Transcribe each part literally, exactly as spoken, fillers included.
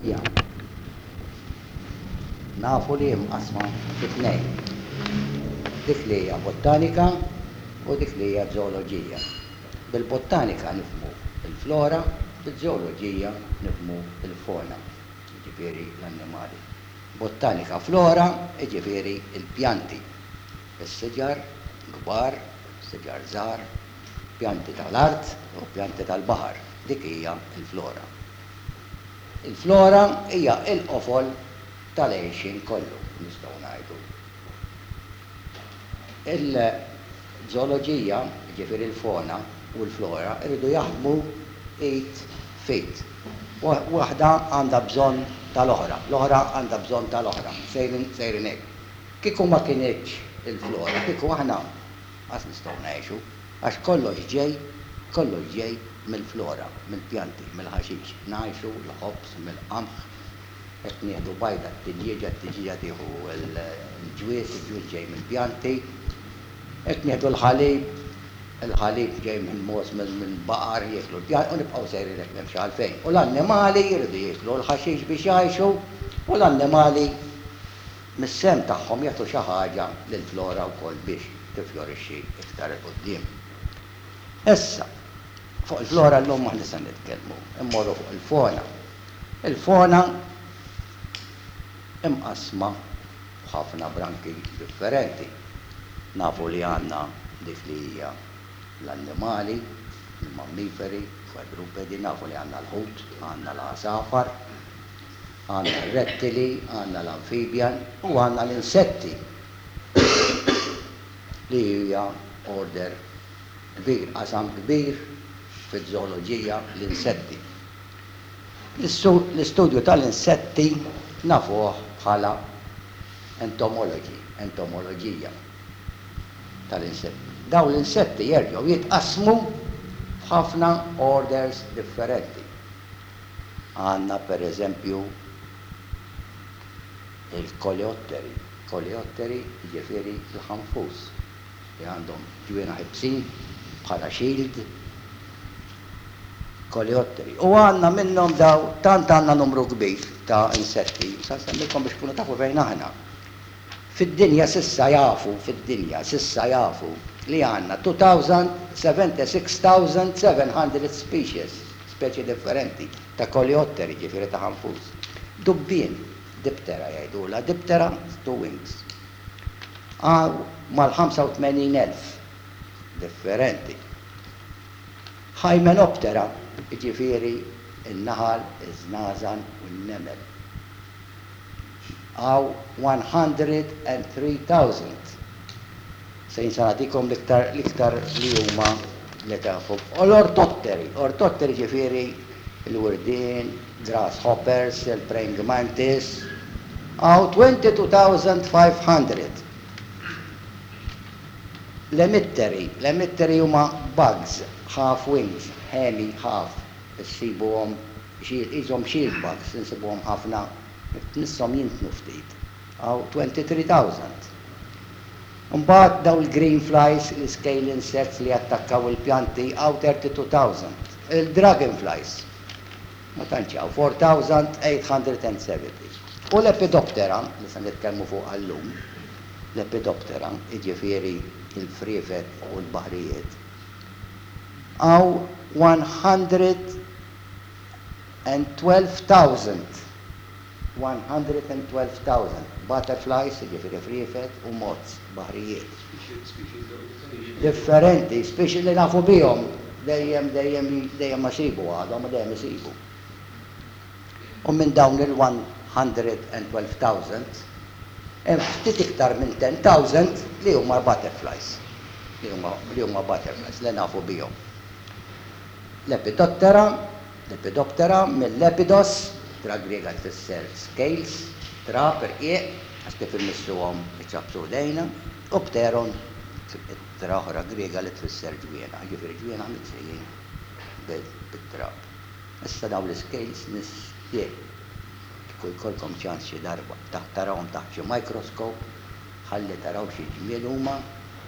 Ja. Nafu li mqasma fi tnejn. Dik li hija botanika u dik li hija zooloġija. Bil-botanika nifhmu il-flora, bil-zooloġija nifhmu il-fauna, jiġifieri l-annimali. Botanika, flora, jiġifieri il-pjanti. Is-siġar kbar, siġar żgħar, pjanti tal-art u pjanti tal-baħar. Dik hija l-flora. Il-flora hija l-qofol tal-għixien kollu, nistgħu ngħidu. Il-zooloġija, jiġifieri l-fauna u l-flora, iridu jaħdmu id f'id. Waħda għandha bżonn tal-oħra, l-oħra għandha bżonn tal-oħra, sejrin sejrin hekk. Kieku ma kinitx il-flora, kieku aħna qas nistgħu ngħixu, għax kollox ġej, kollox ġej mill-flora, mill-pjanti, mill-ħaxix. Ngħixu l-ħobż mill-qamħ, qed nieħdu bajda t-tiġieġa, t-tiġieġa tieħu l-ġwies, il-ġwies ġej mill-pjanti. Qed nieħdu l-ħalib, il-ħalib ġej mill-mogħoż, mill-baqar, jieklu l-pjanti, u nibqgħu sejrin hekk, m'hemmx għalfejn. U l-annimali jridu jieklu l-ħaxix biex jgħixu, u l-annimali mis-sehem tagħhom jagħtu xi ħaġa lill-flora wkoll biex tifjorixxi iktar 'il quddiem. Issa, fuq il-flora llum m'aħniex se nitkellmu, immorru fuq il-fauna. Il-fauna imqasma f'ħafna branki differenti. Nafu li għandna dik li hija l-annimali, il-mammiferi, kwadrupedi, nafu li għandna l-ħut, għandna l-għasafar, għandna r-rettili, għandna l-amfibjan u għandna l-insetti li hija order kbir, qasam kbir fiż-zooloġija, l-insetti. L-istudju tal-insetti nafuh bħala entomology, entomoloġija tal-insetti. Dawn l-insetti jerġgħu jitqasmu f'ħafna orders differenti. Għandna per eżempju il-koleotteri. Koleotteri jiġifieri l-ħanfus li għandhom ġwienaħ iebsin bħala shield. Koleotteri. U għandna minnhom daw, tant għandna numru kbir ta' insetti, sa nsemmilkom biex tkunu tafu fejn aħna. Fid-dinja s'issa jafu, fid-dinja s'issa jafu li għandna two thousand seventy-six thousand seven hundred species, speċi differenti ta' koleotteri, ġifieri ta' ħanfus. Dubbien, diptera jgħidula, diptera, two wings. Għaw mal-ħamsa u tmenin elf differenti. Hymenoptera, ġifieri il-naħal, iż-żnażan u n-nemel. Għaw one hundred and three thousand. Se sa nagħtikom l-iktar l-iktar li huma li tafu. U l-ortotteri, ortotteri ġifieri il-wirdien, grasshoppers, il-praying mantis, għaw twenty-two thousand five hundred. L-hemipteri, l-hemipteri huma bugs, half wings, hemi, half, issibuhom qishom shield bugs, insibuhom ħafna, tmisshom jintnu ftit. Għaw twenty-three thousand. Mbagħad daw il-green flies, il-scale insects li attakkaw il-pjanti, għaw thirty-two thousand. Il-dragonflies, ma tantx hawn, four thousand eight hundred seventy. U l-lepidoptera, li se nitkellmu fuq għallum, lepidoptera, jiġifieri il-friefet u l-baħrijiet, għaw one hundred twelve thousand. one hundred twelve thousand butterflies, jiġifieri friefet, u moths, baħrijiet. Differenti, species li nafu bihom, dejjem, dejjem, dejjem ma sibu għadhom, dejjem isibu. U minn dawn il-one hundred twelve thousand, hemm ftit iktar minn ten thousand li huma butterflies. Li huma li huma butterflies li nafu bihom. Lepidoptera, lepidoptera mill-lepidos, tra Griega tfisser scales, trab irqiq, għax kif immissuhom iċappsu jdejna, u pteron, tra oħra Griega li tfisser ġwienaħ, ġifieri ġwienaħ miksijin bit-trab. Issa dawn l-scales nixtieq kieku jkollkom ċans xi darba taħt tarawhom taħt xi microscope, ħalli taraw xi ġmiel huma,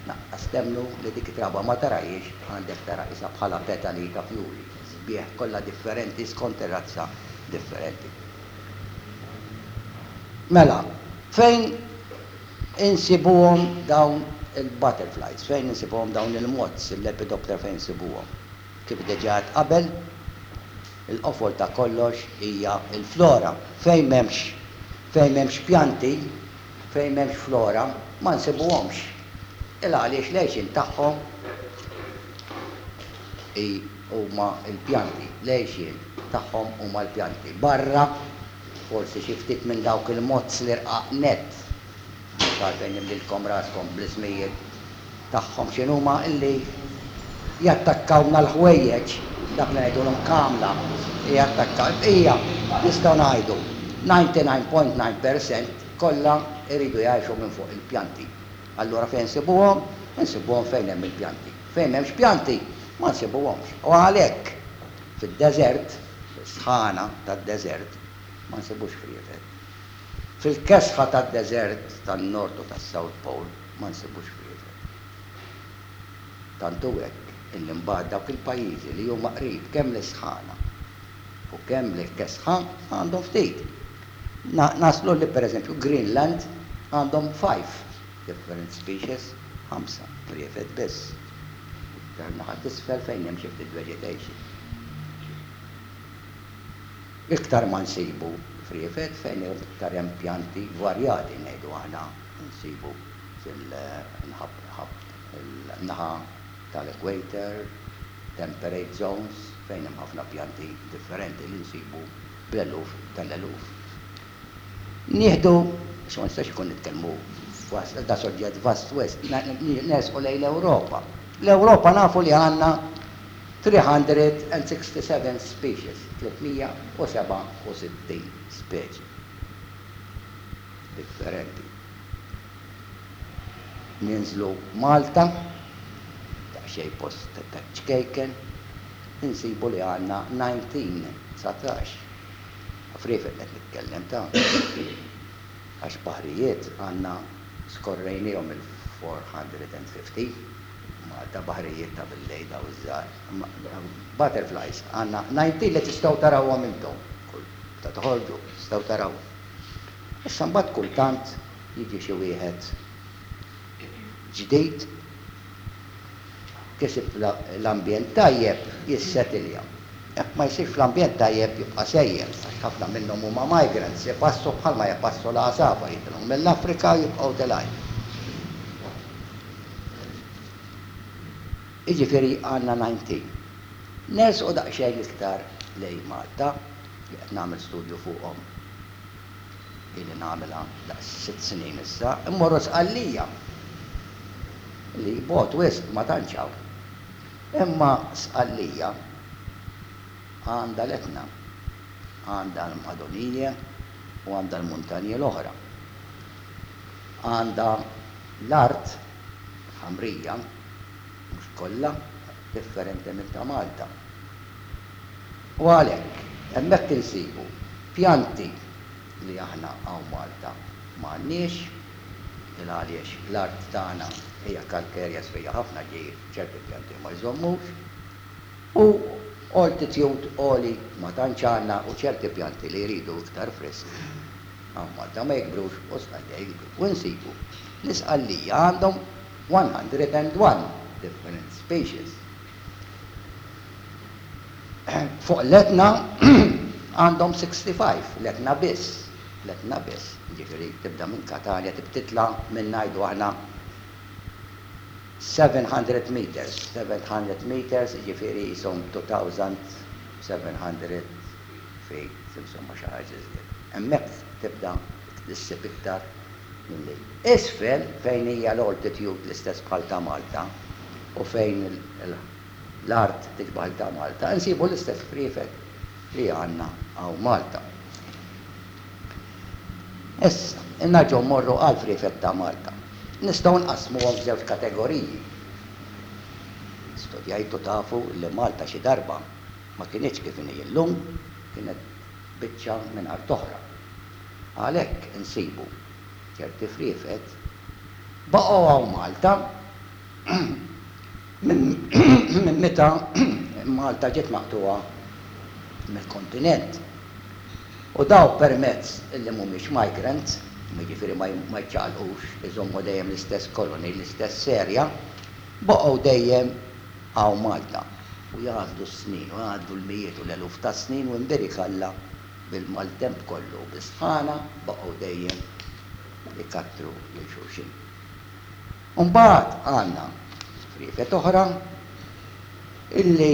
naqqas temmnu li dik traba ma tarahiex, għandek tara isa bħala petali ta' fjuri, sbieħ, kollha differenti skont ir-razza differenti. Mela, fejn insibuhom dawn il-butterflies, fejn insibuhom dawn il-moths, il-lepidoptera, fejn insibuhom? Kif diġà qabel, il-qofol ta' kollox hija il-flora. Fejn m'hemmx fejn m'hemmx pjanti, fejn m'hemmx flora, ma nsibuhomx. Il għaliex l-għixin tagħhom huma l-pjanti, l-għixin tagħhom huma l-pjanti. Barra forsi xi ftit minn dawk il-moths li rqaq net, mhux għalfejn nimlilkom raskom bl-ismijiet tagħhom x'inhuma, illi jattakkawna l-ħwejjeġ, dak li ngħidulhom kamla, jattakkaw. Hija nistgħu ngħidu disgħa u disgħin punt disa fil-mija kollha jridu jgħixu minn fuq il-pjanti. Allura fejn nsibuhom? Nsibuhom fejn hemm il-pjanti. Fejn m'hemmx pjanti, ma nsibuhomx. U għalhekk fid-deżert, fis-sħana tad-deżert, ma nsibux friefet. Fil-kesħa tad-deżert tan-Nord u tas-South Pole ma nsibux friefet. Tantu hekk illi mbagħad dawk il-pajjiżi li huma qrib kemm l-isħana u kemm l-kesħa għandhom ftit. Naslu li, per eżempju, Greenland għandhom five different species, ħamsa friefet biss. Iktar naħa t'isfel fejn hemm xi ftit vegetation. Iktar ma nsibu friefet fejn iktar hemm pjanti varjati, ngħidu aħna nsibu fil-naħa tal-equator, temperate zones, fejn hemm ħafna pjanti differenti li nsibu bl-eluf tal-eluf. Nieħdu, ma nistax ikun nitkellmu da soġġett vast wisq, nersqu lejn l-Ewropa. L-Ewropa nafu li għandna three hundred sixty-seven species, tliet mija u sebgħa u sittin speċi differenti. Ninżlu Malta, daqsxejn post ta' ċkejken, insibu li għandna nineteen, dsatax. Friefet qed nitkellem ta', għax baħrijiet għandna skorrejnihom il-four hundred fifty Malta, baħrijiet ta' bil-lejl daw iż-żgħar. Butterflies għandna nineteen li tistgħu tarawhom intom. Kull ta' toħorġu tistgħu tarawhom. Issa mbagħad kultant jiġi xi wieħed ġdid kisib l-ambjent tajjeb, jissetilja. Jekk ma jsibx l-ambjent tajjeb jibqa' sejjer, għax ħafna minnhom huma migrants, jpassu bħalma jpassu l-għasafar, jitilgħu mill-Afrika u jibqgħu telgħin. Jiġifieri għandna nineteen. Nersqu daqsxejn iktar lejn Malta, li qed nagħmel studju fuqhom ili nagħmilha daqs sitt snin issa, immorru Sqallija li bogħod wisq ma tantx hawn. Imma Sqallija għandha l-Etna, għandha l-Madonije u għandha l-muntanji l-oħra. Għandha l-art ħamrija, mhux kollha, differenti minn ta' Malta. U għalhekk, hemmhekk insibu pjanti li aħna hawn Malta m'għandniex, il għaliex l-art tagħna hija kalkerja, fiha ħafna ġir, ċerti pjanti ma jżommux, u altitude għoli ma tantx għandna u ċerti pjanti li jridu iktar frisk hawn Malta ma jikbrux u Sqallija jikbru. U nsibu l-Isqallija għandhom one hundred and one different species. Fuq l-Etna għandhom sixty-five, l-Etna biss, l-Etna biss, ġifieri tibda minn Katania, titla' minn, ngħidu aħna, seven hundred meters, seven hundred meters, ġifieri jisom two thousand seven hundred feet, insomma xi ħaġa iżjed. Hemmhekk tibda issib iktar milli. Isfel fejn hija l-altitude l-istess bħal ta' Malta u fejn l-art tixbaħ ta' Malta, nsibu l-istess friefet li għandna hawn Malta. Issa, nerġgħu morru għal friefet ta' Malta. Nistgħu nqasmuhom f'żewġ kategoriji. Studjajtu, tafu li Malta xi darba ma kinitx kif inhi llum, kienet biċċa minn art oħra. Għalhekk insibu ċerti friefet baqgħu hawn Malta minn meta Malta ġiet maqtugħa mill-kontinent. U daw permezz illi mhumiex migrants Jiġifieri ma jċaqalqux, iżommu dejjem l-istess koloni, l-istess area, baqgħu dejjem hawn Malta. U jgħaddu s-snin, u jgħaddu l-mijiet u l-eluf ta' snin, u imbierek Alla bil-maltemp kollu, bis-sħana, baqgħu dejjem ikattru lil xulxin. Mbagħad għandna friefet oħra illi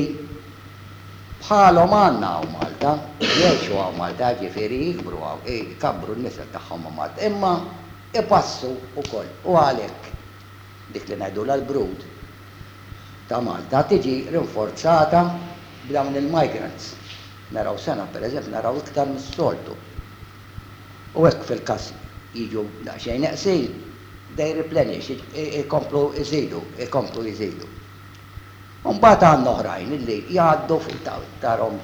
bħalhom għandna hawn Malta, jgħixu hawn Malta, ġifieri jikbru hawn, ikabbru n-nisel tagħhom hawn Malta, imma ipassu wkoll. U għalhekk dik li ngħidulha l-brood ta' Malta tiġi rinforzata b'dawn il-migrants. Naraw sena, pereżempju, naraw iktar mis-soltu. U hekk fil-każ jiġu daqsxejn neqsin, they replenish, ikomplu jżidu, ikomplu jżidu. Mbagħad għandna oħrajn illi jgħaddu fuq, tarahom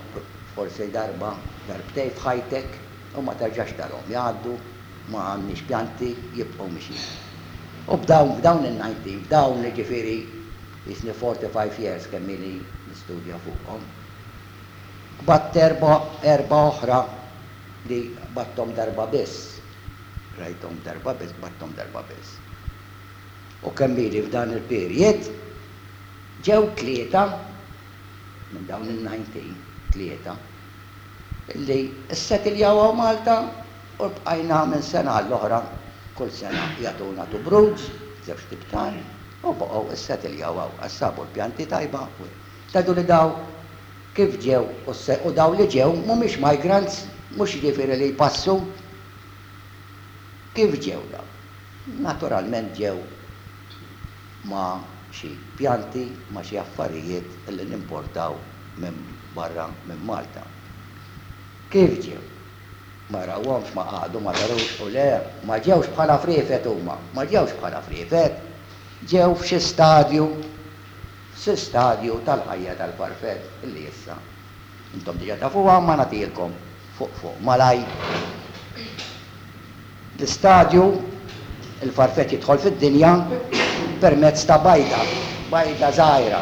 forsi darba, darbtejn f'ħajtek u ma terġax tarahom, jgħaddu, ma għandniex pjanti, jibqgħu mixjin. U b'dawn, b'dawn in-nineteen, b'dawn ġifieri jisni forty-five years kemm ili nistudja fuqhom. Qbadt erba, erba oħra li qbadthom darba biss. Rajthom darba biss, qbadthom darba biss. U kemm ili f'dan il-period ġew tlieta minn dawn in-nineteen, tlieta illi ssettiljaw hawn Malta u bqajna minn sena għall-oħra, kull sena jagħtuna two broods, żewġ tibtan, u baqgħu ssettiljaw hawn, għax sabu l-pjanti tajba. Tgħidu li daw kif ġew, u se-, u daw li ġew mhumiex migrants, mhux jiġifieri li jpassu. Kif ġew daw? Naturalment ġew ma' xi pjanti, ma' xi affarijiet li nimportaw minn barra minn Malta. Kif ġew? Ma rawhomx, ma qagħdu, ma darux, u le, ma ġewx bħala friefet huma, ma ġewx bħala friefet, ġew f'xi stadju, f'xi stadju tal-ħajja tal-farfett illi issa intom diġà tafuha, ma nagħtilkom fuq fuq malaj. L-istadju, il-farfett jidħol fid-dinja permezz ta' bajda, bajda żgħira.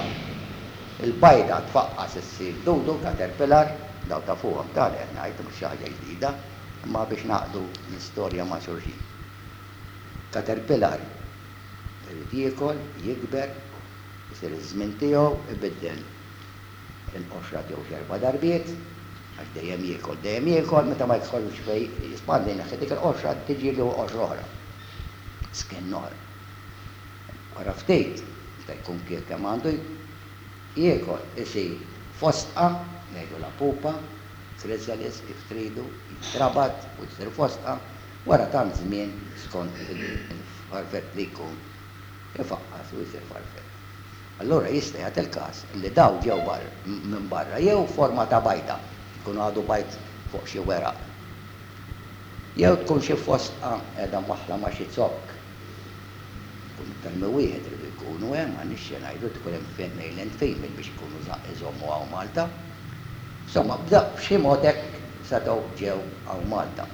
Il-bajda tfaqqas issir dudu, caterpillar, daw tafuhom tal qed ngħid mhux xi ħaġa ġdida, imma biex naqdu l-istorja ma' xulxin. Caterpillar irid jiekol, jikber, isir iż-żmien tiegħu, ibiddel il-qoxra tiegħu xi erba' darbiet, għax dejjem jiekol, dejjem jiekol, meta ma jidħolx fej jispandi jneħħi dik il-qoxra, tiġi lu qoxra oħra, skin oħra. Wara ftit, meta jkun kiel kemm għandu jiekol, isir fosqa, ngħidu la pupa, chrysalis kif tridu, jintrabat u jsir fosqa, wara tant żmien skont il-farfett li jkun ifaqqas u jsir farfett. Allura jista' jagħti il-każ li daw ġew bar-, minn barra jew forma ta' bajda, jkunu għadu bajd fuq xi weraq. Jew tkun xi fosqa qiegħda mwaħħla ma' xi zokk. Kun iktar minn wieħed iridu jkunu hemm, m'għandniex xi ngħidu, tkun hemm male and female biex ikunu za-, iżommu hawn Malta. Insomma, b'da b'xi mod hekk setgħu ġew hawn Malta.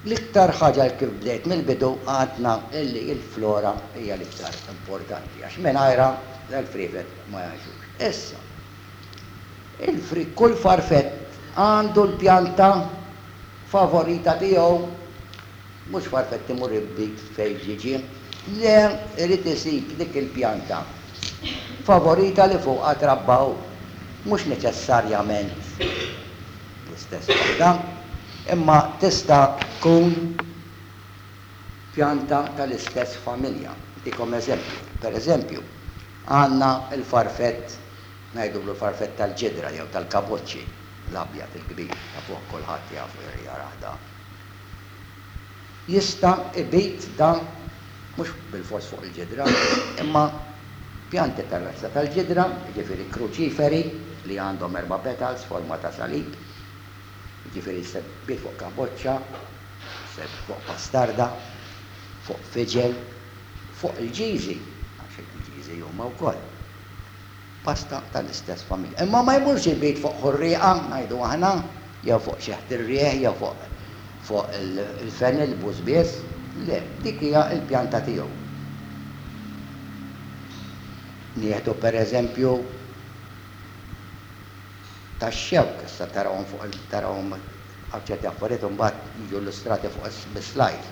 L-iktar ħaġa li kif bdejt mill-bidu għadna illi il-flora hija l-iktar importanti, għax mingħajrha l-friefet ma jgħixux. Issa, il-fri-, kull farfett għandu l-pjanta favorita tiegħu, mhux farfett imur ibit fejn ġiġi, le irid isib dik il-pjanta favorita li fuqha trabbaw, mhux neċessarjament l-istess waħda, imma tista' tkun pjanta tal-istess familja. Ntikom eżempju. Per eżempju, għandna l-farfett, ngħidu l-farfett tal-ġidra jew tal-kaboċċi, l-abjad il-kbir, ta' fuq kulħadd jafu jarah da. Jista' ibit da mhux bil-fors fuq il-ġidra, imma pjanti tal-razza tal-ġidra, jiġifieri kruċiferi li għandhom erba' petals forma ta' salib, jiġifieri jista' jbit fuq kaboċċa, jista' jbit fuq pastarda, fuq fiġel, fuq il-ġiżi, għax il-ġiżi huma wkoll pasta tal-istess familja. Imma ma jmurx ibit fuq ħurrieqa, ngħidu aħna, jew fuq xi ħtirrieħ, jew fuq, fuq il-fenil, il-bużbies, le, dik hija l-pjanta tiegħu. Nieħdu per eżempju tax-xewk, issa tarawhom fuq il-, tarawhom Għax ċerti affarijiet imbagħad jiġu illustrati fuq bis-slide.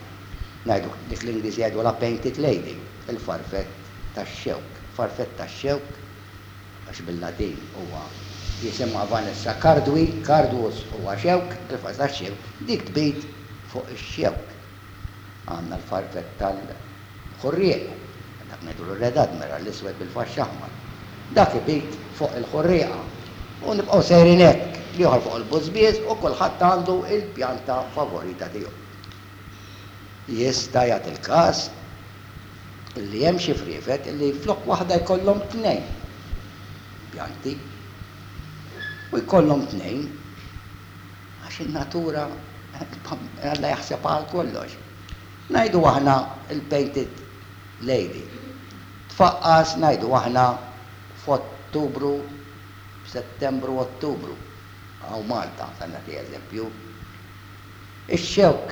Ngħidu dik l-Ingliżi jgħidu la painted lady, il-farfett tax-xewk. Farfett tax-xewk għax bil-Latin huwa jisimha Vanessa cardui, carduus huwa xewk, il-farfett tax-xewk, dik tbid fuq ix-xewk. Għandna l-farfett tal-ħurrieq, dak ngħidu l-Red Admiral, l-iswed bil-faxxa aħmar. Dak ibid fuq il-ħurrieqa. U nibqgħu sejrin hekk, l-ieħor fuq il-bużbież u kulħadd għandu il-pjanta favorita tiegħu. Jista' jagħti il-każ illi hemm xi friefet illi flok waħda jkollhom tnejn pjanti. U jkollhom tnejn għax in-natura Alla jaħseb għal kollox. Ngħidu aħna il-painted lady. Tfaqqas ngħidu aħna f'Ottubru, Settembru, Ottubru. Hawn Malta, sa nagħti eżempju. Ix-xewk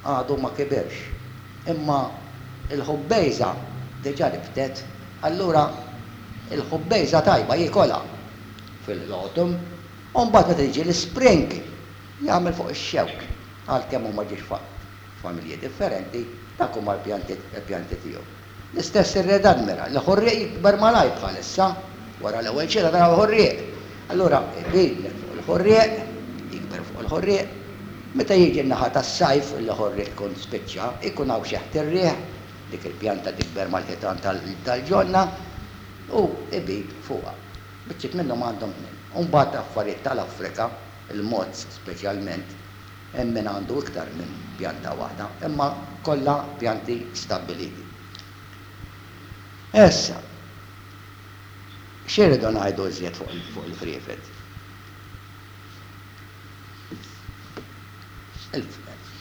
għadu ma kibirx, imma il-ħubbejża diġà nibtet, allura il-ħubbejża tajba jikolha fil-autumn, u mbagħad meta tiġi l-spring jagħmel fuq ix-xewk, għalkemm huma ġiex familji differenti, dak huma l-pjanti tiegħu. L-istess ir-Red Admiral, l-ħurrieq jikber malajr bħalissa, wara l-ewwel xita taraw ħurrieq. Allura ibidlek fuq il-ħurrieq, jikber fuq il-ħurrieq, meta jiġi n-naħa tas-sajf il-ħurrieq ikun spiċċa, ikun hawn xeħt ir-riħ, dik il-pjanta tikber mal-ħitan tal-ġonna u ibid fuqha. Biċċiet minnhom għandhom tnejn. U mbagħad affarijiet tal-Afrika, il-moths speċjalment, hemm min għandu iktar minn pjanta waħda, imma kollha pjanti stabbiliti. Issa, x'irridu ngħidu iżjed fuq il-friefet?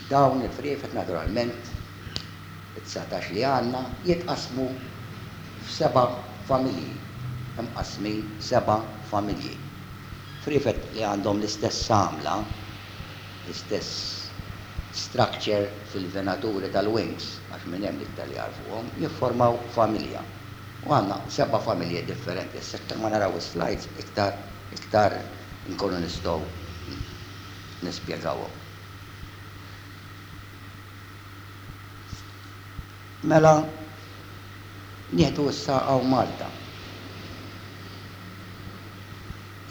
Dawn il-friefet naturalment, it-dsatax li għandna, jitqasmu f'seba' familji, imqasmin seba' familji. Friefet li għandhom l-istess għamla, l-istess structure fil-venaturi tal-wings, għax minn hemm l-iktar li jarfuhom, jiffurmaw familja. U għandna seba' familji differenti. Issa iktar ma naraw is-slides, iktar iktar nkunu nistgħu nispjegawhom. Mela, nieħdu issa hawn Malta.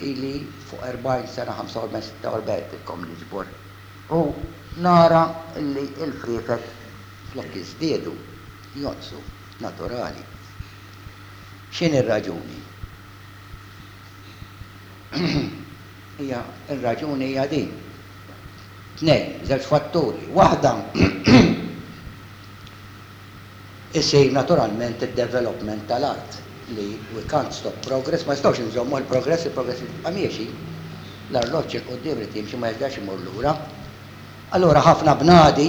Ili fuq erbgħin sena, ħamsa u erbgħin, sitta u erbgħin tilkom niġbor. U nara illi il-friefet flok jiżdiedu jonqsu naturali. X'inhi r-raġuni? Hija r-raġuni hija din. Tnejn, żewġ fatturi. Waħda isir naturalment id-development tal-art li we can't stop progress, ma nistgħux inżommu il-progress, il-progress jibqa' miexi. L-arloġġ 'il quddiem irid jimxi, ma jistax imur lura. Allura ħafna bnadi,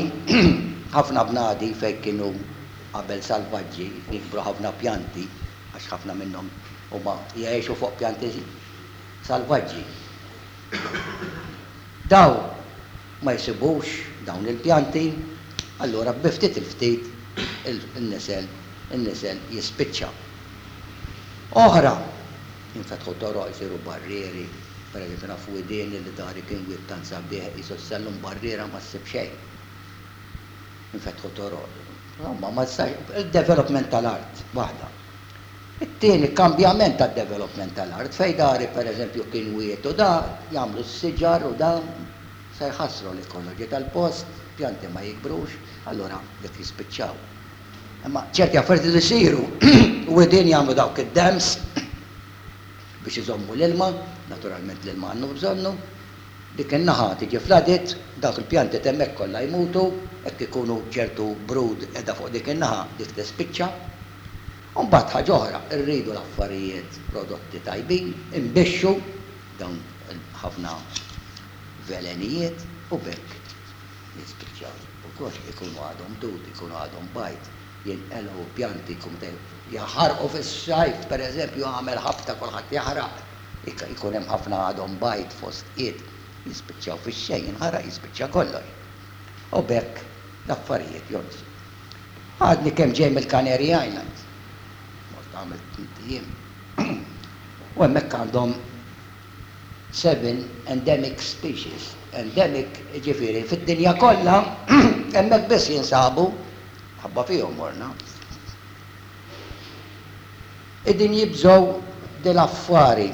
ħafna bnadi fejn kienu qabel salvaġġi, jikbru ħafna pjanti, għax ħafna minnhom huma jgħixu fuq pjanti salvaġġi. Daw ma jsibux dawn il-pjanti, allura bi ftit il-ftit il-nisel, il-nisel jispiċċa. Oħra, jinfetħu toroq, jsiru barrieri, per eżempju naf widien li dari kien wied tant sabiħ, qisu ssellum barriera ma ssib xejn. Infetħu toroq. Insomma, ma tistax, il-development tal-art, waħda. It-tieni kambjament tad-development tal-art, fej dari per eżempju kien wied u da, jagħmlu s-siġar u da, se jħassru l-ekoloġi tal-post, pjanti ma jikbrux, allura dik jispiċċaw. Imma ċerti affarijiet li jsiru, widien jagħmlu dawk id-dams biex iżommu l-ilma, naturalment l-ilma għandu bżonnu, dik in-naħa tiġi flooded, dawk il-pjanti hemmhekk kollha jmutu, hekk ikunu ċertu brood qiegħda fuq dik in-naħa, dik tispiċċa. U mbagħad ħaġa oħra, irridu l-affarijiet prodotti tajbin, imbixxu dawn ħafna velenijiet u bekk jispiċċaw. Ukoll ikunu għadhom dud, ikunu għadhom bajd, jinqelgħu pjanti jkunu jaħarqu fis-sajf, per eżempju, għamel ħabta kulħadd jaħraq, ikun hemm ħafna għadhom bajd fost qiet, jispiċċaw fix-xejn, jinħaraq, jispiċċa kollox. U bekk l-affarijiet jonqsu. Għadni kemm ġej mill-Canary Islands, mort għamilt tmint ijiem, u hemmhekk għandhom Seven endemic species. Endemic ġifieri fid-dinja kollha hemmhekk biss jinsabu, ħabba fihom morna. Qegħdin jibżgħu dil-affari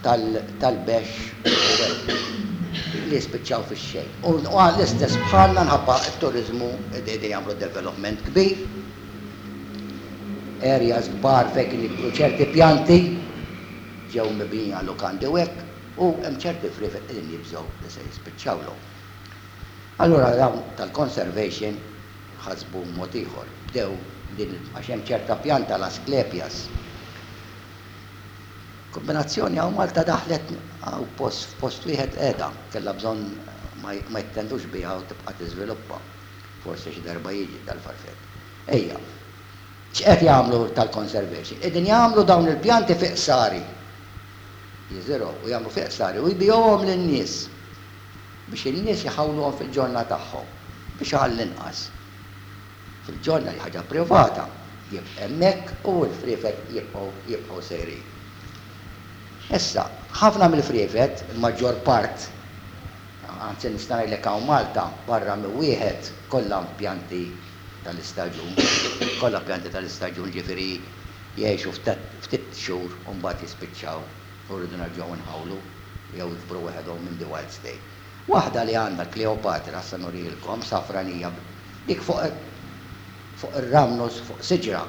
tal-bexx li jispiċċaw fix-xejn. U l-istess bħalna nħabba t-turiżmu qegħdin jagħmlu development kbir. Areas kbar fejn kien jikbru ċerti pjanti ġew mibnija lukandi u hekk, u hemm ċerti friefet qegħdin jibżgħu li se jispiċċawlhom. Allura dawn tal-conservation ħasbu mod ieħor, bdew din għax hemm ċerta pjanta l-Asclepias. Kombinazzjoni hawn Malta daħlet hawn post f'post wieħed qiegħda, kellha bżonn ma jittendux biha u tibqa' tiżviluppa. Forsi xi darba jiġi dal-farfett. Ejja, x'qed jagħmlu tal-conservation? Qegħdin jagħmlu dawn il-pjanti fi qsari. Jiżirgħu u jagħmlu fi qsari u jbigħuhom lin-nies biex in-nies jħawluhom fil-ġonna tagħhom biex għall-inqas. Fil-ġonna li ħaġa privata jibqa' hemmhekk u l-friefet jibqgħu jibqgħu sejrin. Issa, ħafna mill-friefet, il-maġġor part, anzi nista' ngħidlek hawn Malta, barra minn wieħed, kollha pjanti tal-istaġun, kollha pjanti tal-istaġun, ġifieri jgħixu ftit xhur u mbagħad jispiċċaw u rridu nerġgħu nħawlu jew jikbru waħedhom minn the wild state. Waħda li għandha Kleopatra, sa nurilkom, safranija, dik fuq fuq ir-ramnus fuq siġra.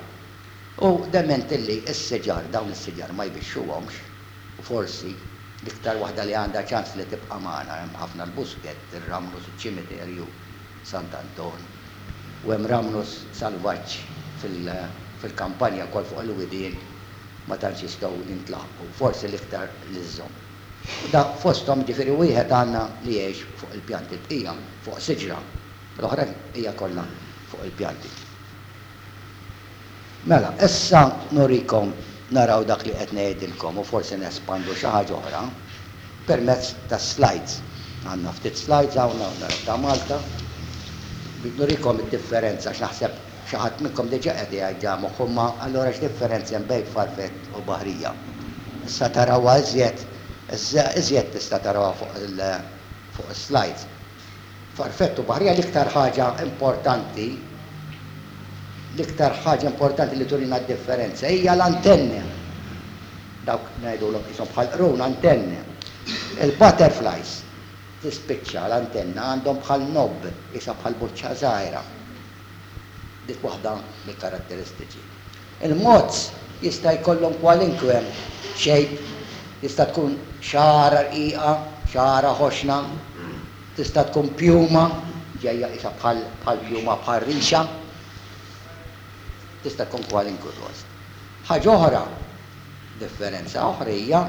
U dement illi s-siġar, dawn is-siġar ma jbixxuhomx, u forsi l-iktar waħda li għandha ċans li tibqa' magħna hemm ħafna l-Buskett, ir-Ramnus, iċ-ċimiterju Sant'Anton, u hemm Ramnus salvaġġ fil-kampanja wkoll fuq il-widien ma tantx jistgħu jintlaħqu, forsi l-iktar li żżomm. Da fosthom ġifieri wieħed għandna li jgħix fuq il-pjanti, l-bqija fuq siġra, l-oħrajn hija kollha fuq il-pjanti. Mela, issa nurikom naraw dak li qed ngħidilkom u forsi nespandu xi ħaġa oħra permezz ta' slides. Għandna ftit slides hawn naraw ta' Malta. Nurikom id-differenza għax naħseb xi ħadd minnkom diġà qed jgħid ġa moħħu ma allura x'differenza hemm bejn farfett u baħrija. Issa tarawha iżjed, iżjed tista' tarawha fuq il fuq is-slides. Farfett u baħrija l-iktar ħaġa importanti, l-iktar ħaġa importanti li turina d-differenza hija l-antenni. Dawk ngħidulhom qishom bħal qrun antenni. Il-butterflies tispiċċa l-antenna għandhom bħal knob, qisha bħal buċċa żgħira. Dik waħda mill-karatteristiċi. Il-moths jista' jkollhom kwalinkwe shape, jista' tkun xagħra rqiqa, xagħra ħoxna, tista' tkun pjuma, ġejja qisha bħal bħal pjuma bħal rixa. Tista' tkun kwalinkwe post. Ħaġa oħra, differenza oħra hija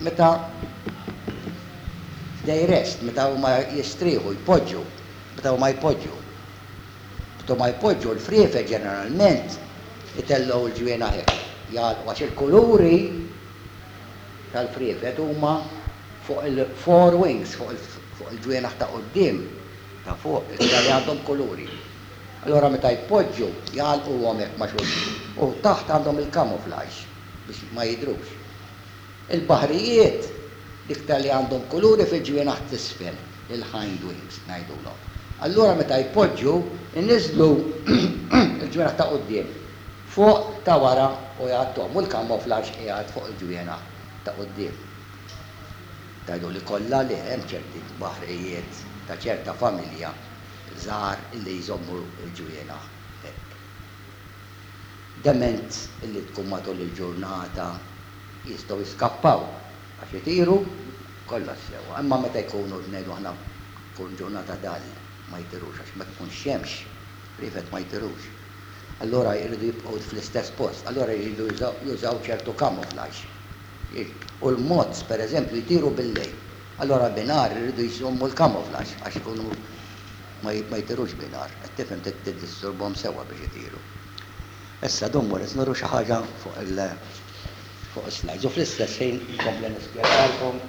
meta they rest, meta huma jistrieħu, jpoġġu, meta huma jpoġġu. Meta huma jpoġġu l-friefe ġeneralment itellgħu l-ġwienaħ hekk, jagħlqu għax il-kuluri tal-friefet huma fuq il-four wings, fuq il-ġwienaħ ta' quddiem, ta' fuq, iktar li għandhom kuluri. Allora meta jpoġġu jagħlquhom hekk ma' xulxin u taħt għandhom il-camouflage biex ma jidhrux. Il-baħrijiet l-iktar li għandhom kuluri fil-ġwienaħ t'isfel, il-hind wings ngħidulhom. Allura meta jpoġġu iniżlu il-ġwienaħ ta' quddiem fuq ta' wara u jgħattuhom u l-camouflage qiegħed fuq il-ġwienaħ ta' quddiem. Tgħidu li kollha li hemm ċerti baħrijiet ta' ċerta familja żgħar illi jżommu l-ġwienaħ hekk. Dement illi tkun matul il-ġurnata jistgħu jiskappaw għax itiru kollox sewwa. Imma meta jkunu ngħidu aħna tkun ġurnata dal ma jtirux għax ma tkunx xemx, friefet ma jtirux. Allura jridu jibqgħu fl-istess post, allura jridu jużaw ċertu camouflage. U l-moths, per eżempju, jtiru bil-lejl. Allura binhar jridu jżommu l-camouflage għax ikunu ma jtirux binhar. Qed tifhem tiddisturbhom sewwa biex itiru. Issa dumu res nuru xi ħaġa fuq il fuq is-slides. U fl-istess ħin nkompli nispjegalkom.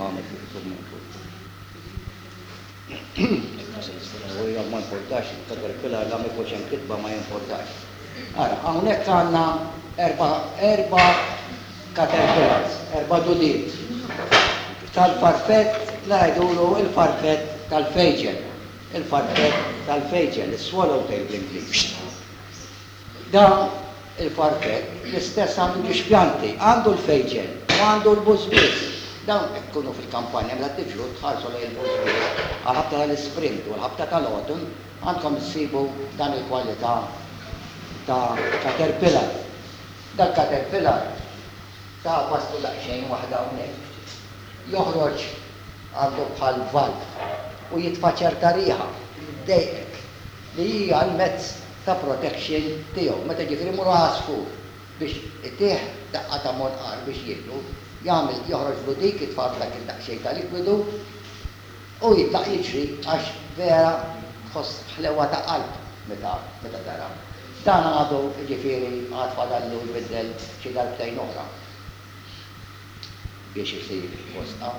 għamel fuq il-kummentu. Ma importax, caterpillar la ma jkunx hemm kitba ma jimportax. Ara, hawnhekk għandna erba' erba' caterpillars, erba' dudiet tal-farfett li ngħidulu il-farfett tal-fejġel, il-farfett tal-fejġel, il-swallowtail bl-Ingliż. Dan il-farfett l-istess għandu ġiex pjanti, għandu l-fejġel u għandu l-bużbież. Dawn hekk ikunu fil-kampanja meta tiġru tħarsu lejn il-bużbież għal-ħabta tal-spring u l-ħabta tal-autumn għandkom issibu dan il-kwalità ta' caterpillar. Dal caterpillar ta' pastu daqsxejn waħda hawnhekk. Joħroġ għandu bħal valv u jitfa' ċerta riħa li ddejqek li hija l-mezz ta' protection tiegħu. Meta ġifieri imur għasfur biex itih daqqa ta' monqar biex jieklu, jagħmel joħroġ dik jitfa' dak il-daqsxejn ta' likwidu u jitlaq jiġri għax vera tħoss ħlewa ta' qalb meta meta tara. Dan għadu ġifieri għad fadallu jbiddel xi darbtejn oħra biex isir fosqa.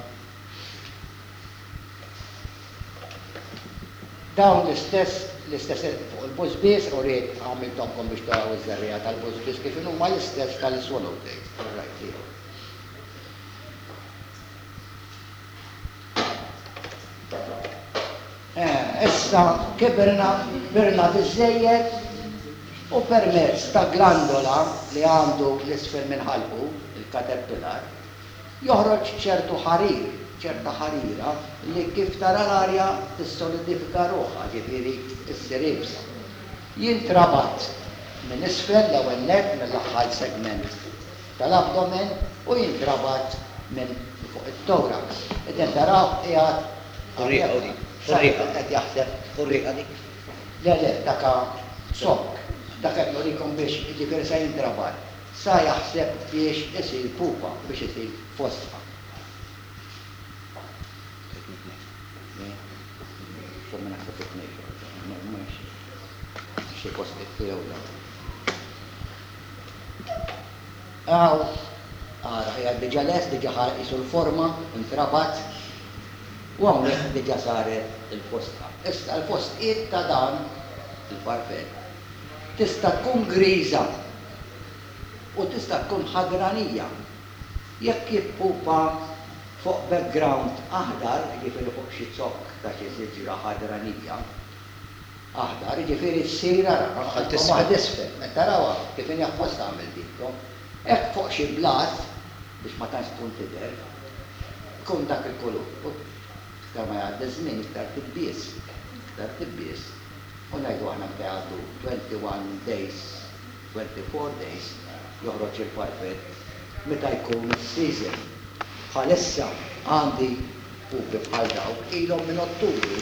Dawn l-istess l-istess fuq il-bużbież u rrid għamiltomkom biex taraw iż-żerriegħa tal-bużbież kif huma l-istess tal-swallowtail. Right, ieħor. Eh, issa kibirna, kibirna biżżejjed u permezz ta' glandola li għandu l-isfel minn ħalqu, il-caterpillar, joħroġ ċertu ħarir, ċerta ħarira li kif tara l-arja tissolidifika ruħha, ġifieri ssir iebsa. Jintrabat minn isfel l-ewwel nett mill-aħħar segment tal-abdomen u jintrabat minn fuq it-thorax. Qegħdin taraw qiegħed Furriqa u dik. Furriqa. Qed jaħseb. Furriqa dik. Le, le, daka zokk. Dak qed nurikom biex jiġifieri se jintrabat. Sa jaħseb biex isir pupa, biex isir fosfa. Xi post tiegħu dawn. Aw, ara, hija diġà lest, diġà ħa qisu l-forma, intrabat, u hawnhekk diġà saret il-fosqa. Issa l-fosqiet ta' dan il-farfett tista' tkun griża u tista' tkun ħadranija. Jekk jippupa fuq background aħdar, jiġifieri fuq xi zokk ta' xi siġra ħadranija, aħdar, jiġifieri ssir ara, waħda isfel, qed tarawha kif inhi apposta għamiltilkom. Hekk fuq xi blat biex ma tantx tkun tidher, tkun dak il-kulur. U iktar ma jgħaddi żmien iktar tibbies, iktar tibbies. U ngħidu aħna meta jgħaddu twenty-one days, twenty-four days, joħroġ il-farfett meta jkun is-season. Bħalissa għandi pupi bħal dawk ilhom minn Ottubru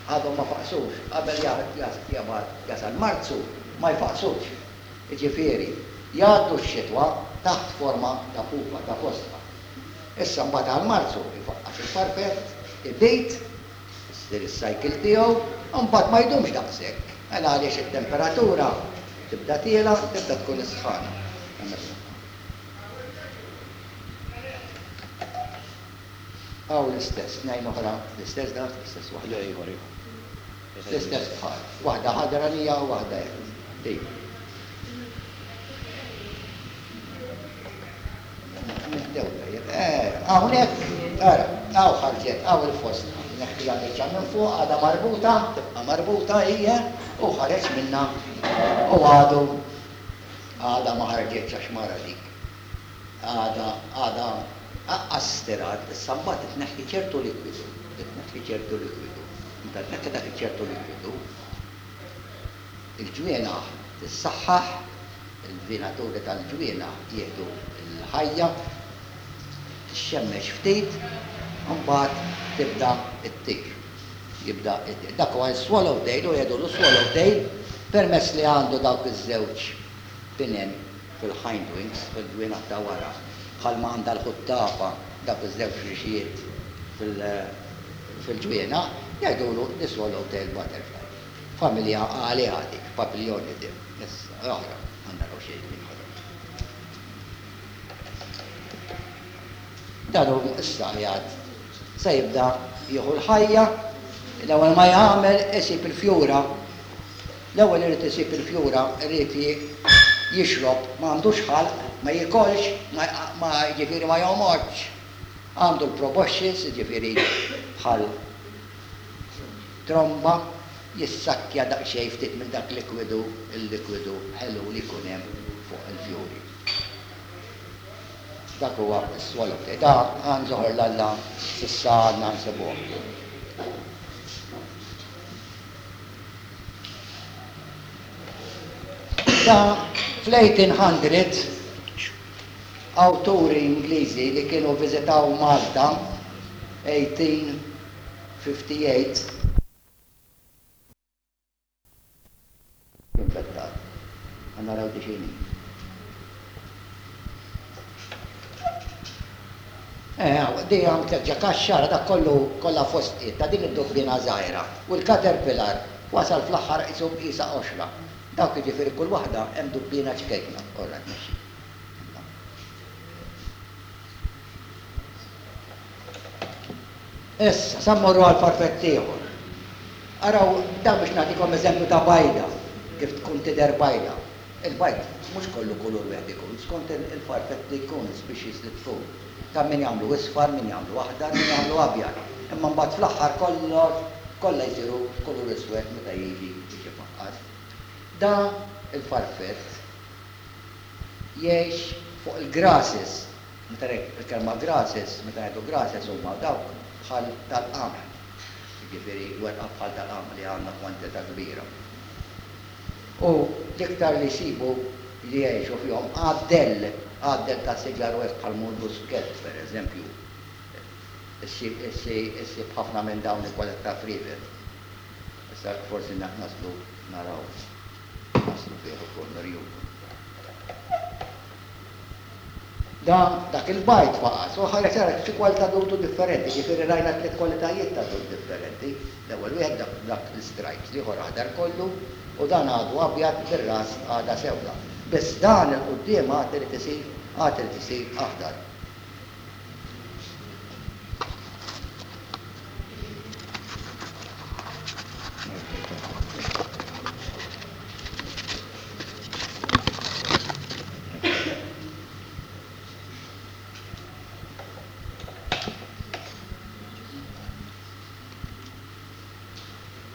għadhom ma faqsux, qabel jasal Marzu ma jfaqsux. Jiġifieri jgħaddu x-xitwa taħt forma ta' pupa, ta' fosfa. Issa mbagħad għal Marzu jfaqqas il-farfett, ibit, issir is-cycle tiegħu, u mbagħad ma jdumx daqshekk. Mela għaliex it-temperatura tibda tiela, tibda tkun isħana. Hawn l-istess, tnejn oħra, l-istess dak, l-istess waħda. Le, ieħor, ieħor. L-istess bħal, waħda ħadranija u waħda hekk. Dik. Eh, hawnhekk, ara, hawn ħarġet, hawn il-fostra. Neħħiha biċċa minn fuq, għadha marbuta, tibqa' marbuta hija, u ħareġ minnha u għadu għadha ma ħarġetx għax mara dik. Għadha, għadha aqqas stirat, issa mbagħad tneħħi ċertu likwidu, tneħħi ċertu likwidu. Meta tneħħi dak iċ-ċertu likwidu, il-ġwienaħ tissaħħaħ, il-vinaturi tal-ġwienaħ jieħdu l-ħajja, tixxemmex ftit, u mbagħad tibda ttir. Jibda ttir. Dak huwa s-swallowtail, u jgħidulu swallowtail permess li għandu dawk iż-żewġ pinen fil-hind wings, fil-ġwienaħ ta' wara, bħalma għandha l-ħuttafa dawk iż-żewġ rixijiet fil-ġwienaħ, jgħidulu the swallowtail butterfly. Familja għaliha dik, Papilionidae. Issa, oħra, ma naraw xejn ieħor. Dan hu issa qiegħed Se jibda jieħu l-ħajja, l-ewwel ma jagħmel isib il-fjura. L-ewwel irid isib il-fjura, irid jixrob, ma għandux ħalq, ma jikolx, ma jiġifieri ma jomgħodx. Għandu l-proboscis, jiġifieri bħal tromba, jissakkja daqsxejn ftit minn dak likwidu, il-likwidu ħelu li jkun hemm fuq il-fjuri. Dak huwa s-swallowtail. Da għanżoħor l-alla s'issa għadna nsibuh. Da fl-eighteen hundred awturi Ingliżi li kienu viżitaw Malta eighteen fifty-eight infettat. Għanna raw diċini. Eh, di għam tleġġa kaxxara, dak kollu kollha fostiet ta' din id-dubbina żgħira. U l-caterpillar wasal fl-aħħar isu qisha qoxra. Dawk jiġifieri kull waħda hemm dubbina ċkejkna. Orra tmexxi. Issa, sa mmorru għal farfett ieħor. Araw, dan biex nagħtikom eżempju ta' bajda, kif tkun tidher bajda. Il-bajd mhux kollu kulur wieħed ikun, skont il-farfett li jkun, il-species li tkun. Ta' min jagħmlu isfar, min jagħmlu aħdar, min jagħmlu abjad. Imma mbagħad fl-aħħar kollox kollha jsiru kulur iswed meta jiġi biex ifaqqas. Da il-farfett jgħix fuq il-grasses. Meta ngħid il-kelma grasses, meta ngħidu grasses huma dawk bħal tal-qamħ. Jiġifieri werqa bħal tal-qamħ li għandna kwantità kbira. U l-iktar li jsibu li jgħixu fihom għaddel, għaddel ta' siġar u hekk bħal buskett, per eżempju. Issib ħafna minn dawn il-kwalità ta' friefet. Issa forsi naslu naraw, naslu fih ukoll nurjukom. Da dak il-bajd faqas, u ħareġ ara xi kwalità dudu differenti, ġifieri rajna tliet kwalitajiet ta' dud differenti. L-ewwel wieħed dak, dak l-stripes, l-ieħor aħdar kollu, u dan għadu abjad bir-ras għadha sewda. Biss dan il-quddiem għad irid isir, għad irid isir aħdar.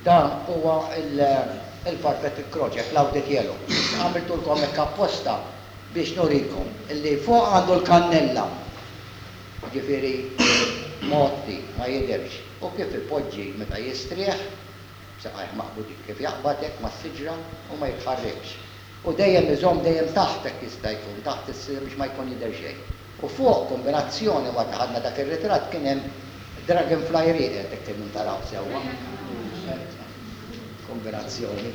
Dan huwa il-farfett il-kroċe, clouded yellow. Għamiltulkom hekk apposta biex nurikom illi fuq għandu l-kannella. Ġifieri motti ma jidhirx. U kif ipoġġi meta jistrieħ, saqajh maqbudin, kif jaqbad hekk mas-siġra u ma jitħarrikx. U dejjem iżomm dejjem taħt hekk jista' jkun, taħt is-siġra biex ma jkun jidher xejn. U fuq kombinazzjoni waqt ħadna dak ir-ritratt kien hemm dragonfly rieqed hekk kien taraw sewwa. Kombinazzjoni.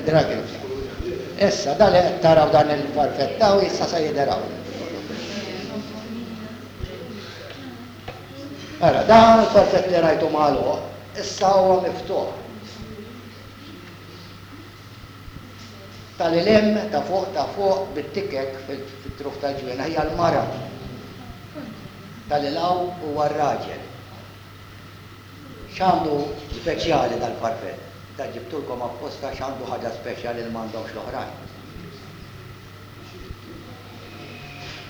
Dragonfly. Issa dan li qed taraw dan il-farfettaw issa se jidheraw. Ara, dan il-farfett li rajtu magħluq, issa huwa miftuħ. Tal-ilem ta' fuq ta' fuq bit-tikek fit-truf tal-ġwienaħ hija l-mara. Tal-ilaw huwa r-raġel. X'għandu speċjali dal-farfett? Da ġibtulkom apposta x'għandu ħaġa speċjali li m'għandhomx l-oħrajn.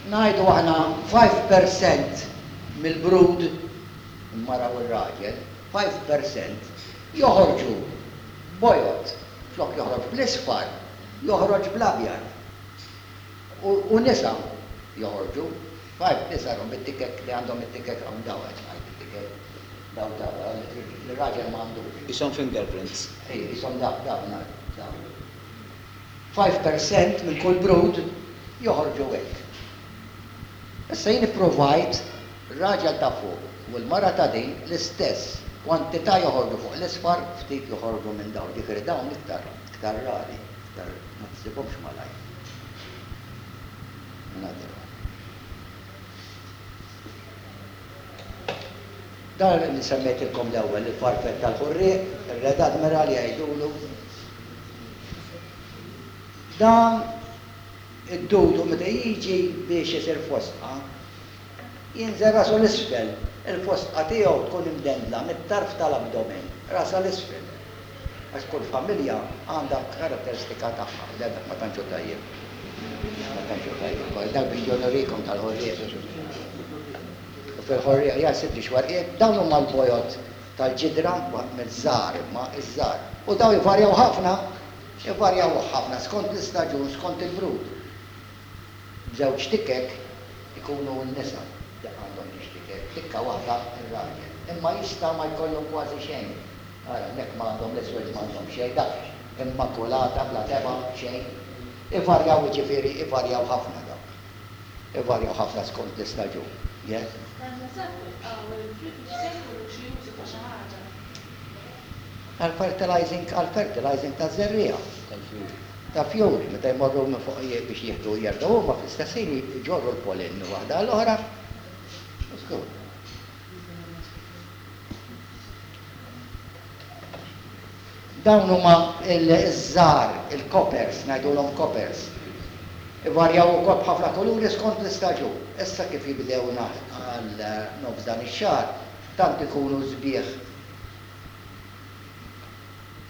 Ngħidu aħna five percent mill-brood, il-mara u r-raġel, five percent joħorġu bojod, flok joħroġ bl-isfar, joħroġ bl-abjad. U, u nisa joħorġu, five nisa rom bit-tikek li għandhom it-tikek hawn daw qed ngħid it-tikek. Daw, daw, il-raġel ma għandux. Isom fingerprints. Ej, isom daw, daw, daw. five percent minn kull brood joħorġu hekk. Issa jien ipprovajt raġel ta' fuq u l-mara ta' din l-istess kwantità joħorġu fuq l-isfar, ftit joħorġu minn dawn, ġifieri dawn iktar, iktar rari, iktar ma tsibhomx malajr. Another one. Dan li semmejtilkom l-ewwel, il-farfett tal-ħurrieq, il-Red Admiral jgħidulu. Dan id-dudu meta jiġi biex isir fosqa, Jinżel rasu l-isfel, il-fosqa tiegħu tkun imdendla mit-tarf tal-abdomen, rasa l-isfel. Għax kull familja għandha karatteristika tagħha, dak ma tantx hu tajjeb. Ma tantx hu tajjeb. Dak biex jonorikom tal-ħorriet. U fil-ħorriet, ja sibt xwarqiet, dawn huma l-bojod tal-ġidra miż-żgħar imma iż-żgħar. U dawn ivarjaw ħafna, ivarjaw ħafna skont l-istaġun, skont il-brud. B'żewġ tikek ikunu n-nisa għandhom ġiex tikek, tikka waħda ir-raġel. Imma jista' ma jkollhom kważi xejn. Ara, hemmhekk ma għandhom l-iswed ma għandhom xejn, dak immakulata bla teba xejn. Ivarjaw jiġifieri, ivarjaw ħafna dawk. Ivarjaw ħafna skont l-istaġun. Yes? Għal-fertilizing, għal-fertilizing ta' żerriegħa. Ta' fjuri, meta jmorru minn fuq biex jieħdu jerġgħu huma fl-istess ħin jġorru l-pollen minn waħda għall-oħra. Żgur. Dawn huma l-żgħar, il-coppers, ngħidulhom coppers. Ivarjaw ukoll b'ħafna kuluri skont l-istaġun. Issa kif jibdew għal nofs dan ix-xahar, tant ikunu sbieħ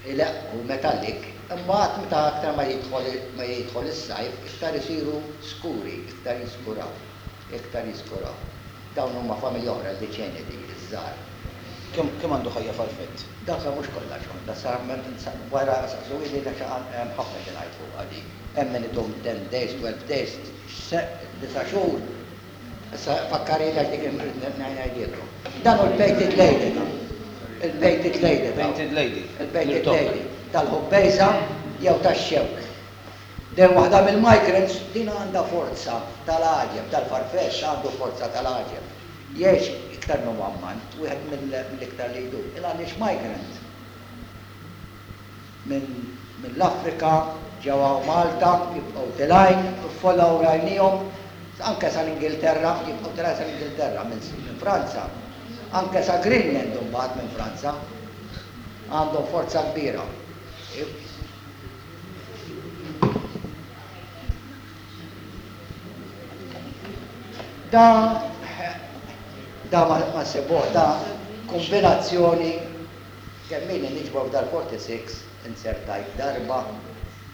ileqqu metallic, imbagħad meta aktar ma jidħol ma jidħol is-sajf, iktar isiru skuri, iktar jiskuraw, iktar jiskuraw. Dawn huma familja oħra l-Licenidi, iż-żgħar. Kemm kemm għandu ħajja farfett? Dak mhux kollha xogħol, da sar wara saqsu dak hemm ħafna xi ngħid fuq għadi. Hemm min idum ten days, twelve days, disa' xhur. Issa fakkari għax dik ngħidilkom. Dan hu l-Painted Lady. Il-Painted Lady. Painted Lady. Il-Painted Lady. Tal-ħubbejża jew tax-xewk. Dejjem waħda mill-migrants din għandha forza tal-għaġeb, tal-farfett għandu forza tal-għaġeb. Jgħix iktar minn one month, wieħed mill-iktar li jdum. Il għaliex migrant. Mill-Afrika ġewwa Malta, jibqgħu telgħin, follow rajnihom, anke sal-Ingilterra, jibqgħu telgħin sal-Ingilterra minn Franza, anke sa Greenland imbagħad minn Franza, għandhom forza kbira. Da, da ma sebuħ, da kombinazzjoni kemm ili niġbor dal forty-six insertajt darba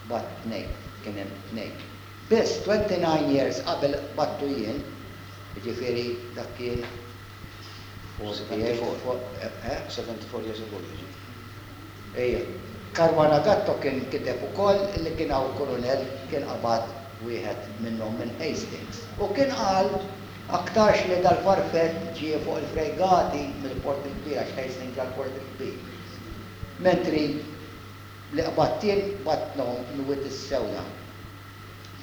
bat tnejn, kien hemm tnejn. Biss twenty-nine years qabel battu jien, jiġifieri dak kien seventy-four years ago. Ejja, Caruana Gatto kien kiteb ukoll li kien hawn kolonel kien qabad wieħed minnhom minn Hastings. U kien qal aktarx li dal-farfett ġie fuq il-fregati mill-Port il-Kbir, għax Hastings ġa l-Port il-Kbir. Mentri li qbattien batnhom minn is-sewda.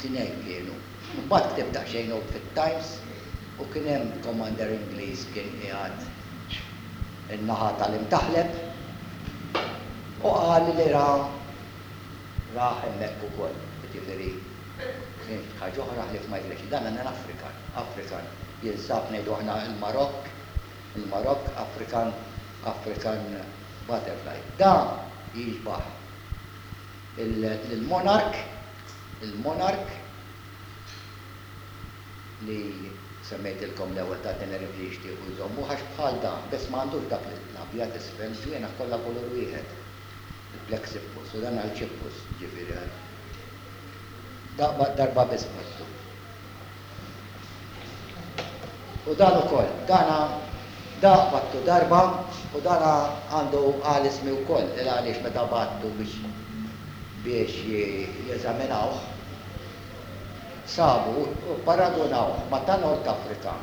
Tnejn kienu. Mbagħad ktib daqsxejn note fit-Times u kien hemm Commander Ingliż kien qiegħed in-naħa tal-Imtaħleb u qal li ra raħ hemmhekk ukoll. Jiġifieri kien ħaġa oħra ħlief migration. Dan għandna l-Afrikan. Afrikan jinsab ngħidu aħna il-Marokk, il-Marokk Afrikan, Afrikan butterfly. Da jixbaħ il-monarch, il-monarch li semmejtilkom l-ewwel ta' Tenerife li jixtiequ jżommu għax bħal dan, biss ma għandux dak l-abjad isfel, ġwiena kollha kulur wieħed. Il-Plexippus, u dan għal-ċippus, ġifieri. Darba biss battu. U dan ukoll, dana da battu darba u dana għandu għal ismi wkoll, il għaliex meta battu biex biex jeżaminawh, sabu u paragunawh ma' ta' North Africa.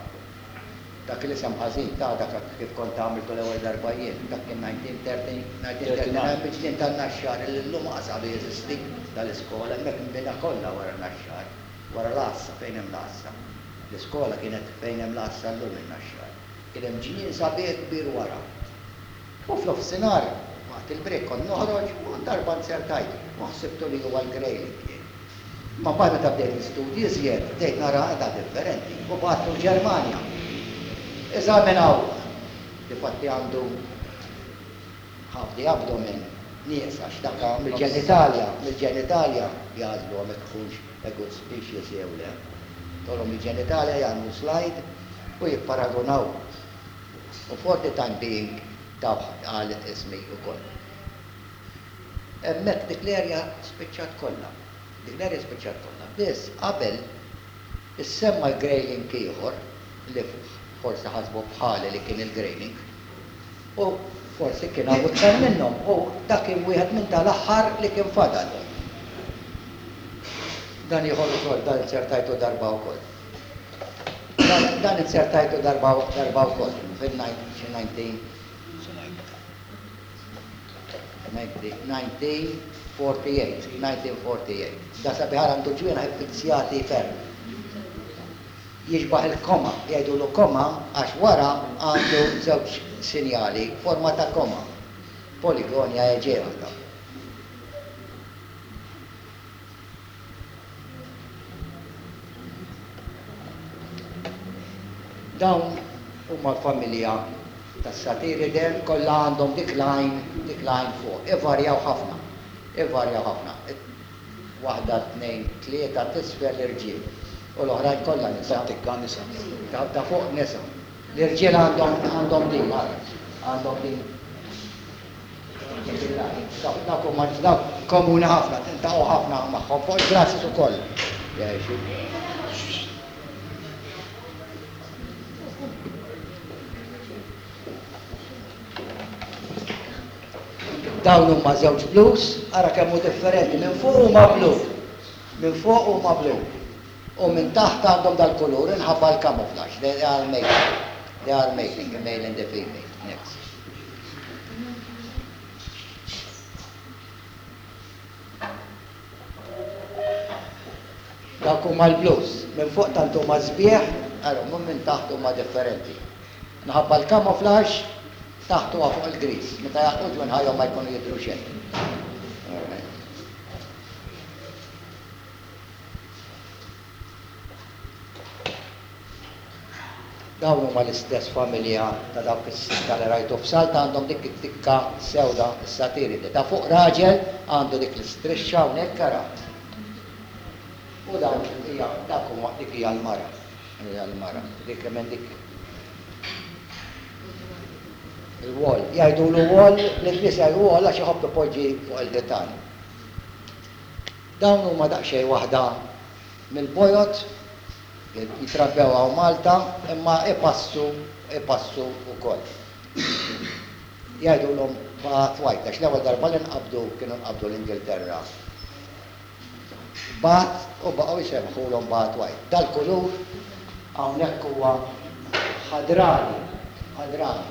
Dak li sem ħażin ta' dak kif kont għamiltu l-ewwel darba jien, dak kien nineteen thirty-nine biex tan-Naxxar li llum qasadu jeżisti dal-iskola, hemmhekk nbina kollha wara n-Naxxar, wara l-għassa, fejn hemm l-għassa. L-iskola kienet fejn hemm l-għassa llum in-Naxxar. Kien hemm ġnien sabiħ kbir wara. U fl-offsinar, waqt il-break kont noħroġ u darba nsertajt, u ħsibtu li huwa l-grejling kien. Ma mbagħad meta bdejt nistudji iżjed, bdejt nara għadha differenti u bagħtu l-Ġermanja. Eżaminaw, difatti għandu half the abdomen nies għax dak mill-ġenitalja, mill-ġenitalja jagħżlu għam ikunx a good species jew le. Tolhom il-ġenitalja jagħmlu slide u jipparagunaw. U for the time being taw għal ismi ukoll. Hemmhekk dik l-erja spiċċat kollha. Dik l-erja spiċċat kollha. Biss qabel issemma l-greyling ieħor li forsi ħasbu bħali li kien il-greyling u forsi kien hawn iktar minnhom u dak kien wieħed minn tal-aħħar li kien fadal. Dan ieħor ukoll, dan inzertajtu darba wkoll. Dan, dan inzertajtu darba darba wkoll fil-nineteen nineteen forty-eight, nineteen forty-eight. Da sabiħar, għandu ġwienaħ iffizzjati ferm. Jixbaħ il-koma, jgħidu koma għax wara għandu żewġ sinjali, forma ta' koma. Polygonia aegeaca. Dawn huma l-familja tas-Satyridae, kollha għandhom dik l-għajn, dik l-għajn fuq. Ivarjaw ħafna, ivarjaw ħafna. Waħda, tnejn, tlieta t'isfel l-irġiel. U l-oħrajn kollha nisa. Tikka nisa. Ta' ta' fuq nisa. L-irġiel għandhom għandhom din, ara, għandhom din. Dak huma dak komuni ħafna, tintaqgħu ħafna magħhom fuq il-grasses ukoll. Jgħixu. Dawn huma żewġ blues, ara kemm hu differenti, minn fuq huma blu. Minn fuq huma blu. U minn taħt għandhom dal-kulur inħabba l-camouflage. They are mating. They are mating, the male and the female. Next. Dawk huma l-blues. Minn fuq tant huma sbieħ, ara minn taħt huma differenti. Nħabba l-camouflage, taħt huwa fuq il-gris. Meta jaqgħu ġwenħajhom ma jkunu jidhru xejn. Alright. Dawn huma l-istess familja ta' dawk is-sitta li rajtu f'Salta, għandhom dik it-tikka sewda, s-Satyridae. Ta' fuq raġel, għandu dik l-istrixxa hawnhekk, ara. U dawn hija dak huma dik hija l-mara. Hija l-mara. Dik minn dik il-wall. Jgħidulu wall, l-Ingliż jgħidu wall għax iħobb ipoġġi fuq il-ħitan. Dawn huma daqsxejn waħda mill-bojod jitrabbew hawn Malta, imma ipassu ipassu wkoll. Jgħidulhom Bath White għax l-ewwel darba li nqabdu kienu nqabdu l-Ingilterra. Bath u baqgħu jsejħulhom Bath White. Dal-kulur hawnhekk huwa ħadrani, ħadrani.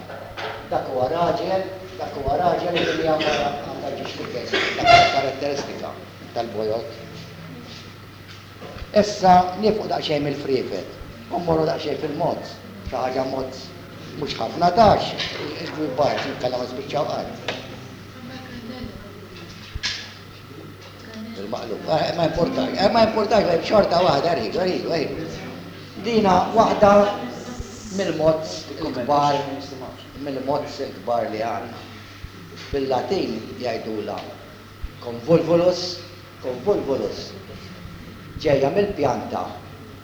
Dak huwa raġel, dak huwa raġel u din hija mara, għandha ġiex tikkes, dak karatteristika tal-bojod. Issa nieqfu daqsxejn mill-friefet, u mmorru daqsxejn fil-moths, xi ħaġa moths mhux ħafna tax, il-kbar inkella ma spiċċaw qatt. Il-maqlub, eh, ma importax, eh, ma importax, xorta waħda, rridu, rridu, rridu. Dina waħda mill-moths il-kbar, mill-moths il-kbar li għandna. Bil-Latin jgħidula convolvulus, convolvulus. Ġejja mill-pjanta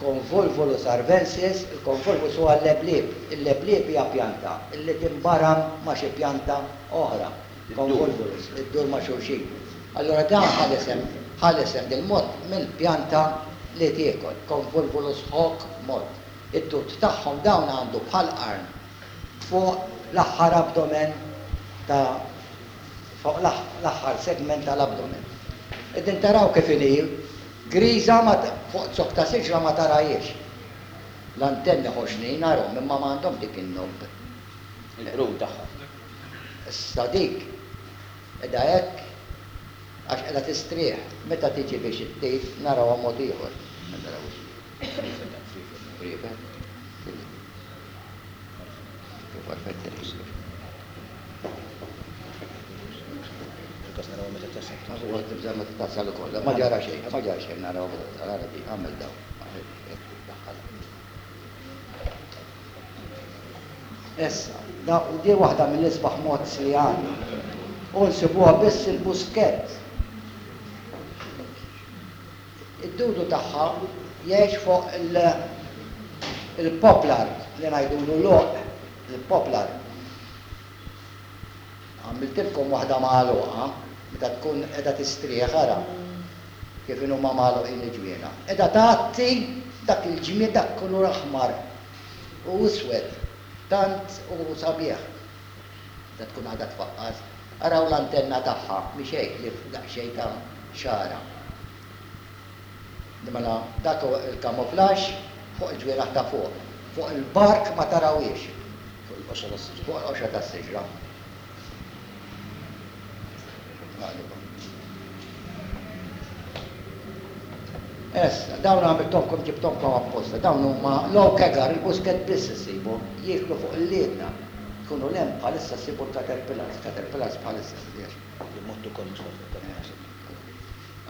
Convolvulus arvensis, il-convolvulus huwa l-leblib. Il-leblib hija pjanta illi timbaram ma' xi pjanta oħra. Convolvulus, iddur ma' xulxin. Allora dan ħa l-isem, ħa l-isem dil-moth mill-pjanta li tiekol, Convolvulus hawk moth. Id-dud tagħhom dawn għandu bħal qarn fuq l-aħħar abdomen ta' fuq l-aħħar segment tal-abdomen. Id taraw kif inhi griża, ma fuq zokk ta' siġra ma tarajiex. L-antenni ħoxnin arhom, imma ma għandhom dik in-knob. Il-qrun tagħha. Issa dik qiegħda hekk għax qiegħda tistrieħ, meta tiġi biex ittir narawha mod ieħor. Ma narawx. Friefet. Perfett. Kas naraw meta tasal. Għazu għad tibża meta tasal ukoll. Ma ġara xejn, ma ġara xejn, naraw meta tasal, ara di, għamel daw. Issa, da di waħda mill-isbaħ moths li għandna. U nsibuha biss il-Buskett. Id-dudu tagħha jgħix fuq il-poplar. li ngħidulu loq, il-poplar. Għamiltilkom waħda magħluqa, meta tkun qiegħda tistrieħ ara kif inhuma magħluqin il-ġwienaħ. Qiegħda tgħatti dak il-ġmie dak kulur aħmar u iswed, tant u sabiħ. Meta tkun għadha tfaqqas, araw l-antenna tagħha mhix hekk li daqsxejn ta' xara. Mela dak huwa il-camouflage fuq il-ġwienaħ ta' fuq. Fuq il-bark ma tarawhiex. Fuq il-qoxra tas-siġra. Fuq il-qoxra tas-siġra. Issa, dawn għamiltomkom ġibtomkom apposta, dawn huma low kegar, il-busket biss issibu, jieklu fuq il-liedna. Tkunu lem bħalissa ssibu l-caterpillars, caterpillars bħalissa ssiex. Il-mottu kollu mhux fuq.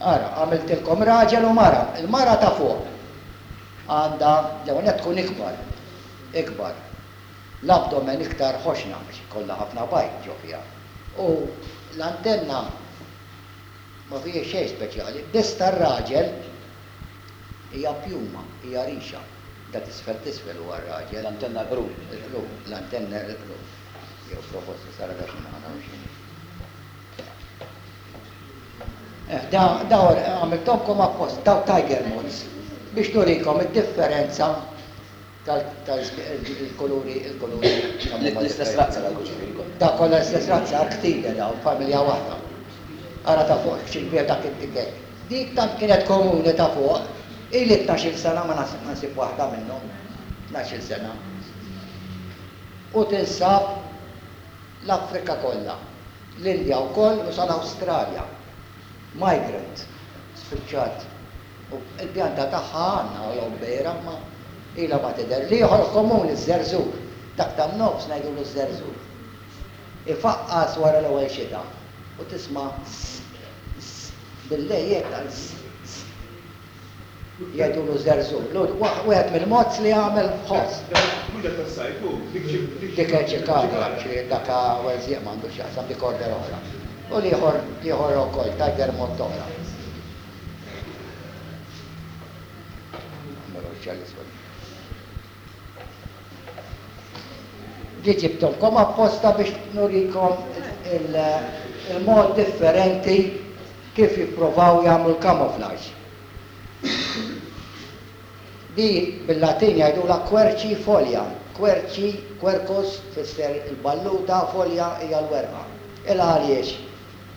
Ara, għamiltilkom raġel u mara. Il-mara ta' fuq għandha, l-ewwel nett tkun ikbar, ikbar. L-abdomen iktar ħoxna biex ikollha ħafna bajd ġo fiha. U l-antenna ma fihiex xejn speċjali, biss tar-raġel hija pjuma, hija rixa. Da tisfel tisfel huwa r-raġel. L-antenna l-qrun. Il-qrun, l-antenna l-qrun. Jew proposta sara da x'inhu naraw x'inhi. Eh, da, da għamiltomkom apposta, daw tiger moths, biex nurikom id-differenza tal-kuluri, il-kuluri. L-istess razza dawk ġifieri kollha. Da kollha l-istess razza, Arctide daw, familja waħda. Ara ta' fuq x'kbir dak it-tikek. Dik tant kienet komuni ta' fuq, ili tnax-il sena ma nasib waħda minnhom, tnax-il sena. U tinsab l-Afrika kollha, l-Indja wkoll u sal-Awstralja. Migrant, spiċċat. U l-pjanta tagħha għandna u bejra ma ilha ma tidher. L-ieħor komuni ż-żerżur, dak tan-nofs ngħidulu ż-żerżur. Ifaqqas wara l-ewwel xita u tisma' zzz, zzz, bil-lejl jekk tal zzz, zzz. Jgħidulu żerżur. Wieħed mill-mods li jagħmel ħoss. Mhux dak tas-sajf, hu, dik xi- dik Dik ċikada, xi dak werżieq m'għandux x'jaqsam dik order oħra. U l-ieħor, l-ieħor ukoll, tiger moth oħra. Di ġibtomkom apposta biex nurikom il-mod differenti kif jippruvaw jagħmlu l-camouflage. Di bil-Latin jgħidulha quercifolia. Querci, quercus tfisser il-balluta, folja hija l-werqa. Il għaliex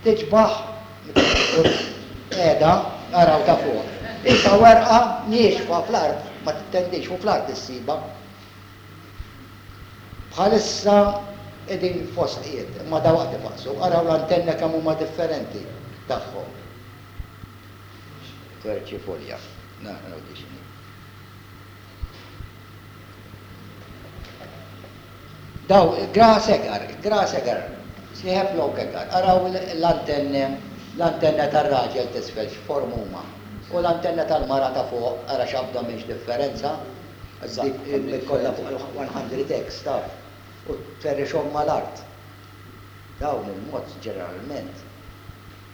tiġbaħ qiegħda araw ta' fuq. Issa werqa niexfa fl-art, ma tittendix u fl-art issiba. Bħalissa qegħdin fost qiegħed, imma da waqt ifaqsu, araw l-antenna kemm huma differenti tagħhom. Quercifolia. Naraw di x'inhi. Daw, grass egar, grass egar, sieħeb lok egar, araw l-antenne, l-antenna tar-raġel tisfel x'form huma. U l-antenna tal-mara ta' fuq, ara x'abdomen x'differenza. Eżatt. Dik kollha fuq il-one hundred X taf. U tferrixhom mal-art. Dawn il-mods ġeneralment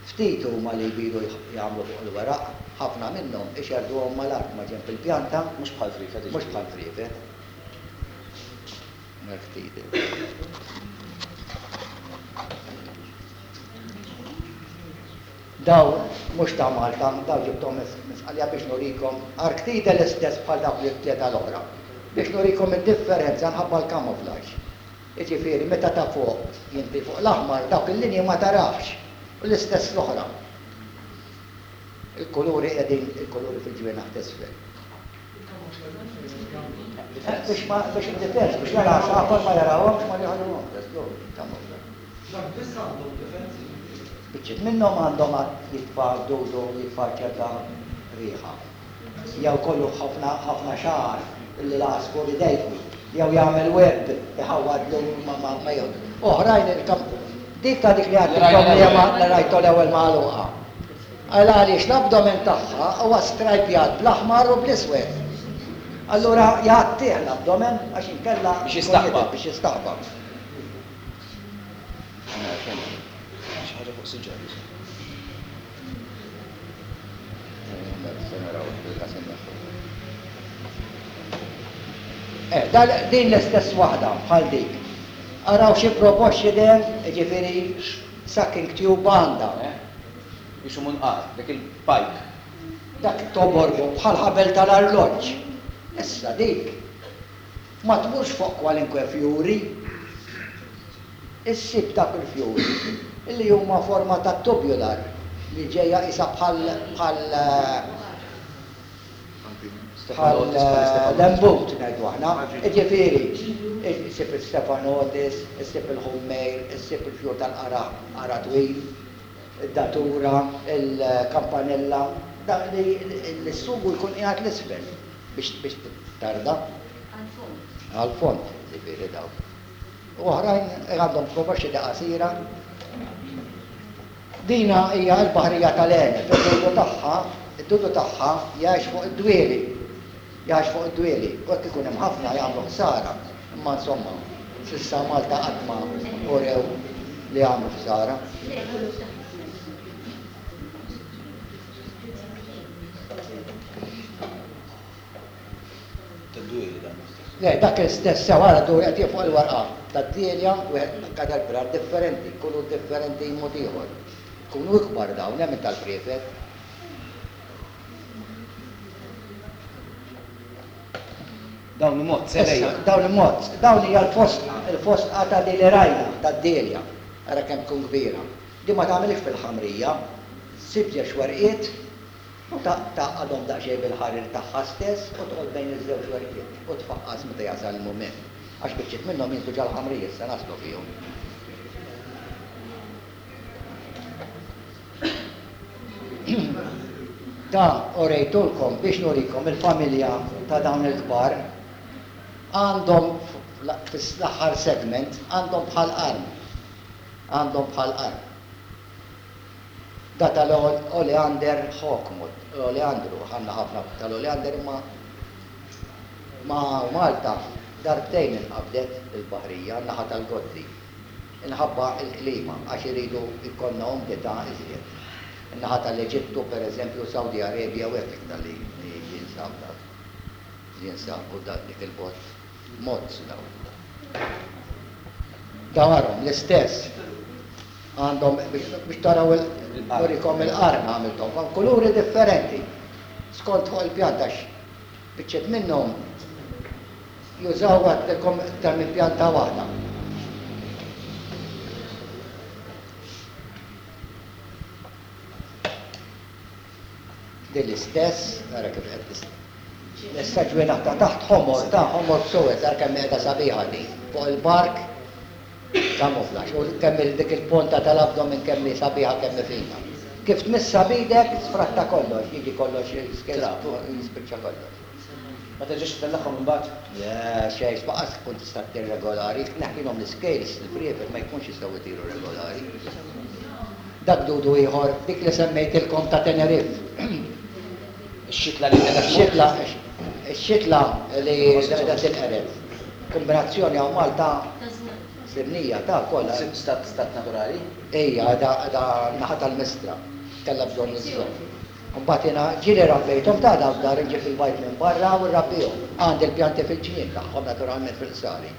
ftit huma li jbidu jagħmlu fuq il-weraq, ħafna minnhom ixerduhom mal-art ma' ġenb il-pjanta. Mhux bħal frifet, Mhux bħal frifet. Marktide. Daw mhux ta' Malta, daw ġibthom misqalja biex nurikom Arctide l-istess bħal dawk li tlieta l-oħra. Biex nurikom id-differenza nħabba l-camouflage. Jiġifieri meta ta' fuq jinti fuq l-aħmar dawk il-linji ma tarax. U l-istess l-oħra. Il-kuluri qegħdin il-kuluri fil-ġwienaħ t'isfel. Biex ma biex id-difens, biex la għasafar ma jarawhomx ma jħalluhomx, camouflage. Dak biss għandhom difensi. Biċċiet minnhom għandhom jitfa' dudu, jitfa' ċerta riħa. Jew kollu ħafna ħafna xagħar illi l-għasfur idejqu, jew jagħmel web iħawwadlu ma ma ma jieħdu. Oħrajn il-kam dik ta' dik li għadtilkom li ma li rajtu l-ewwel magħluqa. Għal għaliex l-abdomen tagħha huwa strajpjat bl-aħmar u bl-iswed. Allura jgħattih l-abdomen għax inkella Biex jistaħba. Biex jistaħba. Xi ħaġa fuq siġar. Eh, din l-istess waħda bħal dik. Araw xi proboscidem, jiġifieri sucking tube għandha. Qisu munqar, dik il-pajp. Dak toborbu bħal ħabel tal-arloġġ. Issa dik ma tmurx fuq kwalinkwe fjuri. Issib dak il-fjuri illi huma forma ta' tubular li ġejja isa bħal bħal bħal lembut ngħidu aħna. Jiġifieri, issib il-Stephanotis, issib il-ħummejr, issib il-fjur tal-qara qara twil, id-datura, il-kampanella, li l-sugu jkun qiegħed l-isfel biex biex tarda. Għal-fond, jiġifieri dawk. U oħrajn għandhom proboscide qasira. Dina hija l-baħrija tal-għeneb, id-dudu tagħha, id-dudu tagħha jgħix fuq id-dwieli. Jgħix fuq id-dwieli, u hekk ikun hemm ħafna jagħmlu ħsara. Imma insomma, s'issa Malta qatt ma urew li jagħmlu ħsara. Le, dak l-istess sew ara dur qed fuq il-warqa tad-dielja wieħed caterpillar differenti, kulur differenti mod ieħor. Kunu ikbar dawn hemm tal-prefet. Dawn il-mod, Issa, dawn il-mod, dawn hija l-fosqa, il-fosqa ta' din li rajna, tad-dielja. Ara kemm tkun kbira. Di ma tagħmilx fil-ħamrija, ssib żewġ werqiet u tgħaqqadhom daqsxejn bil-ħarir tagħha stess u toqgħod bejn iż-żewġ werqiet u tfaqqas meta jasal il-mument. Għax biċċiet minnhom jinżlu ġal-ħamrija issa naslu fihom. Da orejtulkom biex nurikom il-familja ta' dawn il-kbar għandhom fl-aħħar segment għandhom bħal qarn. Għandhom bħal qarn. Da tal-Oleander Hawkmoth, l-Oleandru, ħanna ħafna tal-Oleander imma ma' Malta darbtejn inqabdet il-baħrija, naħa tal-Goddi. Inħabba il-klima għax iridu jkollna umdità iżjed. In-naħa tal-Eġittu, per eżempju, Saudi Arabia u hekk iktar li jinsab dak. Li jinsabu dak dik il-bot moths dawn. Dawarhom l-istess għandhom biex taraw nurikom il-qarn għamilthom, kuluri differenti. Skont fuq il-pjanta biċċiet minnhom jużaw għadilkom iktar minn pjanta waħda. Din l-istess, ara kif qed Issa ġwienaħ ta' taħt ħomor, ta' ħomor suwed, ara kemm qiegħda sabiħa din. Fuq il-bark camouflage, u kemm dik il-ponta tal-abdomen kemm hi sabiħa kemm hi fina. Kif tmissa b'idek, sfratta kollox, jiġi kollox jispiċċa kollox. Ma terġax tellagħhom imbagħad? Le, xejn, baqas tkun tista' ttir regolari, tneħħilhom l-scales, il-friefet ma jkunx jistgħu jtiru regolari. Dak dudu ieħor, dik li semmejtilkom ta' Tenerife. Ix-xitla li qiegħda Ix-xitla, ix-xitla li qiegħda tinqered. Kombinazzjoni hawn Malta sibnija ta' kollha. Stat stat naturali? Ejja, da naħa tal-mistra. Kellha bżonn iż-żomm. Mbagħad jiena ġieli rabbejthom ta' dawn dar inġib il-bajt minn barra u rrabbihom. Għandi l-pjanti fil-ġnien tagħhom naturalment fil-qsari.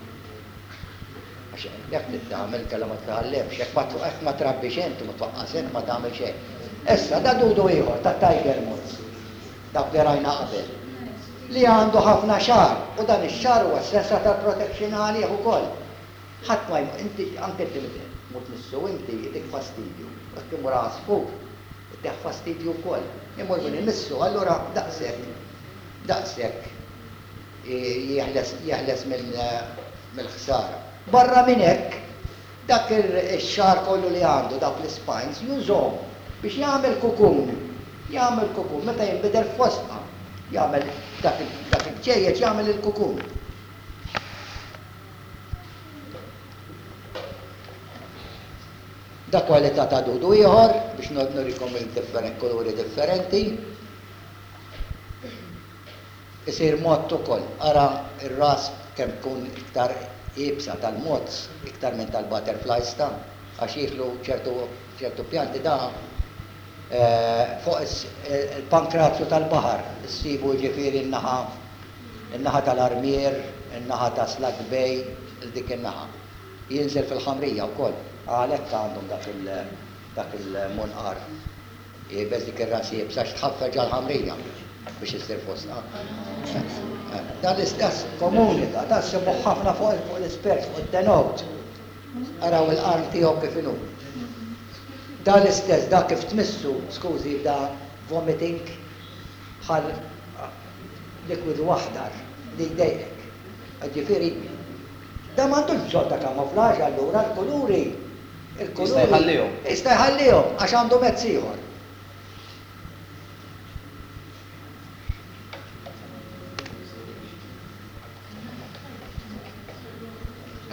Għax jekk trid tagħmel kellha ma titgħallemx, jekk ma trabbix int u ma twaqqas int ma tagħmel xejn. Issa da dudu ieħor ta' tiger moths, dak li rajna qabel, li għandu ħafna xagħar u dan ix-xagħar huwa sensor tal-protection għalih ukoll. Ħadd ma inti anke inti mut missu inti dik fastidju, jekk imur għasfur, teħ fastidju wkoll. Imur min imissu, allura daqshekk, daqshekk jeħles mill-ħsara. Barra minn hekk, dak ix-xagħar kollu li għandu, dak l-spines, jużhom biex jagħmel kukun. Jagħmel kukun, meta jinbidel f'fosqa, jagħmel dak il-ċejjeġ jagħmel il-kukun. Da kwalità ta' dudu ieħor biex nurikom il-different kuluri differenti. Isir mott ukoll, ara ir-ras kemm tkun iktar iebsa tal-moths iktar minn tal-butterflies ta' għax jieklu ċertu pjanti da fuq il-pankrazju tal-baħar, issibu ġifieri n-naħa In-naħa tal-Armier, in-naħa ta' Slag Bay, dik in-naħa. Jinżel fil-ħamrija wkoll. Għalhekk għandhom dak il dak il-munqar. Iebes dik ir-ras iebsa għax tħaffer ġol-ħamrija biex issir fosqa. Dan l-istess komuni da, dan sibuh ħafna fuq fuq l-ispert, fuq it-tenot. Araw il-qarn tiegħu kif inhu. Dan l-istess, da kif tmissu, skużi, da vomiting bħal likwidu aħdar li jdejqek. Ġifieri, da m'għandux bżonn ta' kamuflaġ allura l-kuluri. Il-kuluri. Jista' jħallihom. Jista' jħallihom għax għandu mezz ieħor.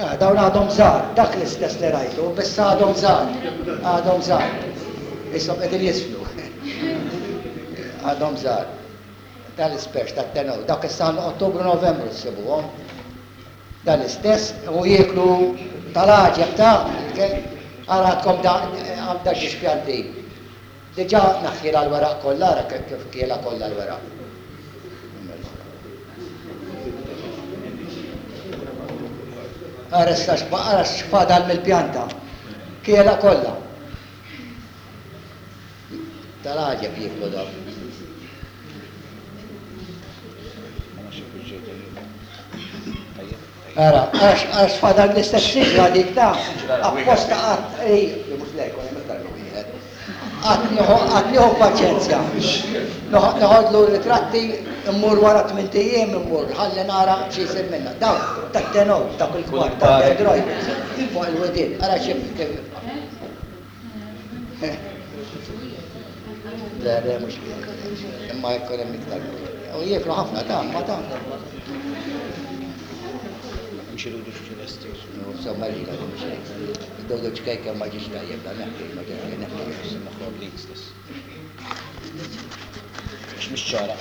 Ah, dawn għadhom żgħar, dak l-istess li rajtu, biss għadhom żgħar, għadhom żgħar. Issa qegħdin jisflu. Għadhom żgħar. Tal-ispex tat-tenor, dak issa Ottubru Novembru ssibuhom. Dan l-istess u jieklu tal-għaġeb ta' għaratkom da għandha xi pjanti. Diġà naħħilha l-weraq kollha, ara kif kiela kollha l-weraq. Ara issa ara x'fadal mill-pjanta. Kiela kollha. Tal-għaġeb jieklu dawn. Ara, għax għax fadal l-istess siġra dik ta' apposta qatt, ej, mhux lejk, hemm iktar minn wieħed. Qatt nieħu qatt nieħu paċenzja. Noħodlu ritratti, immur wara tmint ijiem immur, ħalli nara xi jsir minnha. Dawk tat-tenor, dak il-kbar tad-dendroid fuq il-widien. Ara xi kif jibqa'. Le, le, mhux wieħed. Imma jkun hemm iktar minn wieħed. U jieklu ħafna ta' ma ta'. Mhux iridu ċelesti. Insomma, li la mhux hekk. Id-dodu ċkejken ma ġiex tajjeb da neħħi, ma ġiex neħħi. Naħħu dik stess. Għax mhix ċara.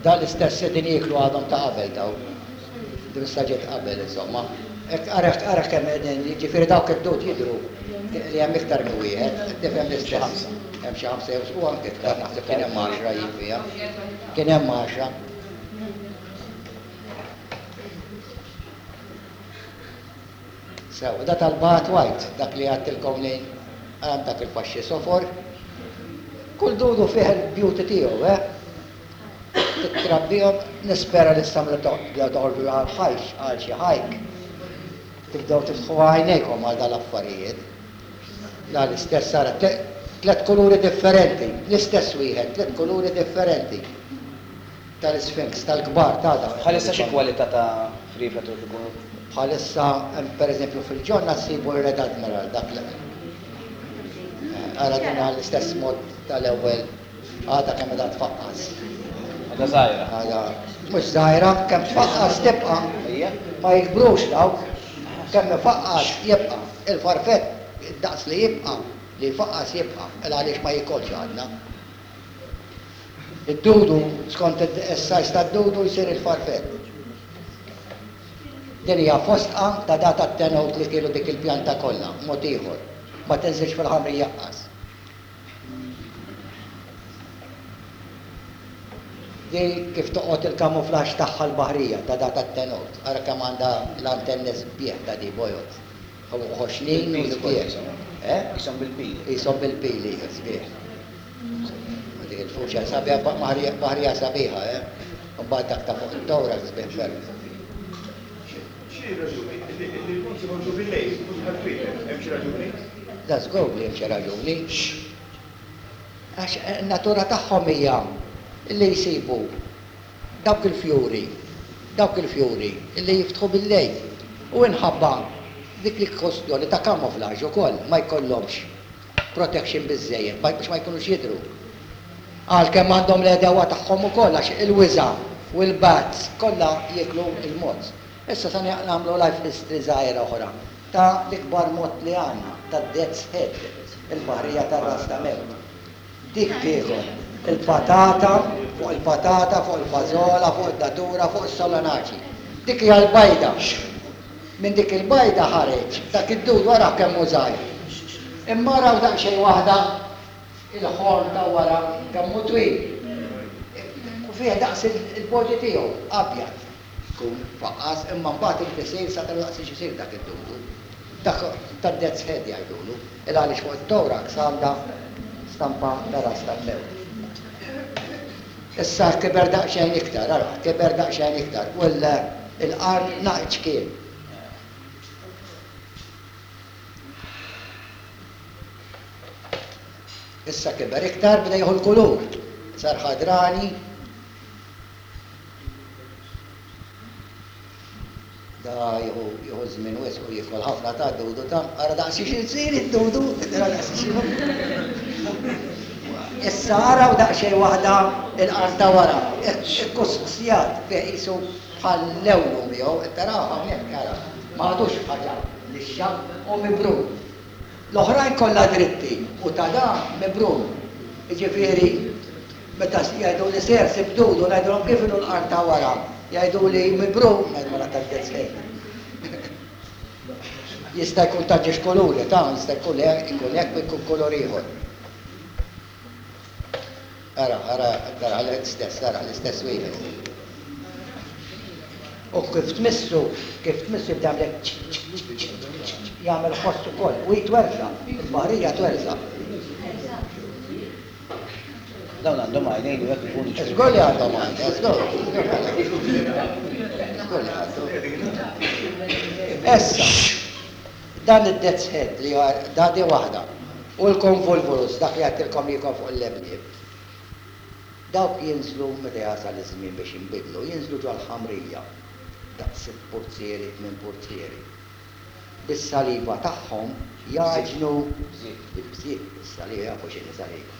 Dan l-istess qegħdin jieklu għadhom ta' qabel daw. Din issa ġiet qabel insomma. Hekk ara ara kemm qegħdin, jiġifieri dawk id-dud jidhru li hemm iktar minn wieħed, tifhem l-istess. Hemm xi ħamsa jew u anke iktar naħseb kien hemm għaxra jien fiha. Kien hemm għaxra. Sew, da tal-Bat White, dak li għattilkom li għand dak il-faxxi sofor. Kull dudu fih il-beauty tiegħu, eh? Titrabbihom, nispera li samlu toħorġu għal ħajx, għal xi ħajk. Tibdew tiftħu għajnejkom għal dal-affarijiet. La l-istess sara, tliet kuluri differenti, l-istess wieħed, tliet kuluri differenti. Tal-Sphinx, tal-kbar, ta' dawn. Bħalissa xi kwalità ta' friefet u ikunu? Bħalissa, per eżempju, fil-ġonna ssibu r-Red Admiral, dak li. Ara din l-istess mod tal-ewwel, għadha kemm qiegħda tfaqqas. Għadha żgħira. Għadha mhux żgħira, kemm tfaqqas tibqa'. Ejja. Ma jikbrux dawk, kemm ifaqqas jibqa'. Il-farfett, id-daqs li jibqa', li jfaqqas jibqa', il għaliex ma jikolx għadna. Id-dudu, skont is-sajz tad-dudu jsir il-farfett. Din hija fosqa ta' data t-tenot li kielu dik il-pjanta kollha, mod ieħor. Ma tinżilx fil-ħamrija jaqqas. Di kif toqgħod il-kamuflaġġ tagħha l-baħrija ta' data t-tenot. Ara kemm għandha l-antenni sbieħ ta' di bojod. Ħoxnin u sbieħ. Eh? Qishom bil-pili. Qishom bil-pili, sbieħ. Dik il-fuċa sabiħa, baħrija sabiħa, eh? U mbagħad dak ta' fuq it-towra sbieħ ferm. Xi raġuni? Li l-monti joħorġu bil-lejl, mhux ħalfejn, hemm xi raġuni? Da żgur li hemm xi raġuni. Għax in-natura tagħhom hija li jsibu dawk il-fjuri, dawk il-fjuri li jiftħu bil-lejl. U inħabba dik li kwestjoni ta' kamuflaġġ ukoll ma jkollhomx protection biżżejjed biex ma jkunux jidhru. Għalkemm għandhom l-għedewwa tagħhom ukoll għax il-wiża u l-bats kollha jieklu il-moths. Issa se nagħmlu life history żgħira oħra ta' l-ikbar mot li għandna, ta' Death's Head, il-baħrija tar-ras ta' mewt. Dik tiekol il-patata, fuq il-patata, fuq il-fażola, fuq id-datura, fuq is-solonaċi. Dik hija l-bajda. Minn dik il-bajda ħareġ, dak id-dud wara kemm hu żgħir. Imma raw daqsxejn waħda il-ħorn ta' wara kemm hu twil. fih daqs il-body tiegħu abjad. Tkun faqqas, imma mbagħad il-fisir sa tara daqs x'isir dak id-dudu. Dak tad-death's head jgħidulu. Il għaliex fuq it-thorax għandha stampa ta' ras tal-mewt. Issa kiber daqsxejn iktar, ara, kiber daqsxejn iktar. U l-qarn naqċ kien. Issa kiber iktar, bda jieħu l-kulur. Sar ħadrani. Da jieħu żmien wisq u jiekol ħafna ta' dudu ta' ara daqs xi jsir id-dudu, ara daqs xi. Issa araw daqsxejn waħda il-qarn ta' wara. Ikkusqsjat fih qisu bħal lewlu miegħu, taraw hawnhekk ara. Ma għadux ħaġa lixxa u mibrum. L-oħrajn kollha dritti u ta' da mibrum. Jiġifieri meta jgħidu li ser sib dudu ngħidulhom kif inhu l-qarn ta' wara. Jgħidu li mibrum, ngħidu mela tad-death's head. Jista' jkun ta' ġiex kuluri, ta' jista' jkun hekk, ikun hekk u jkun kulur ieħor. Ara, ara, ara l-istess, ara l-istess wieħed. U kif tmissu, kif tmissu jibda jagħmlek ċ ċ ċ ċ ċ ċ jagħmel ħoss ukoll u jitwerża, il-baħrija twerża. Dawn għandhom għajnejn u hekk ikunu ċ. Żgur li għandhom għajnejn, żgur, żgur li għandhom. Issa, dan id-death's head li da di waħda u l-convolvulus dak li għedtilkom jiekol fuq il-lebnieb. Dawk jinżlu meta jasal iż-żmien biex jinbidlu, jinżlu ġol-ħamrija daqs sitt purzieri, tmien purzieri. Bis-saliva tagħhom jaġnu bil-bżieq, is-saliva jafu x'inhi saliva.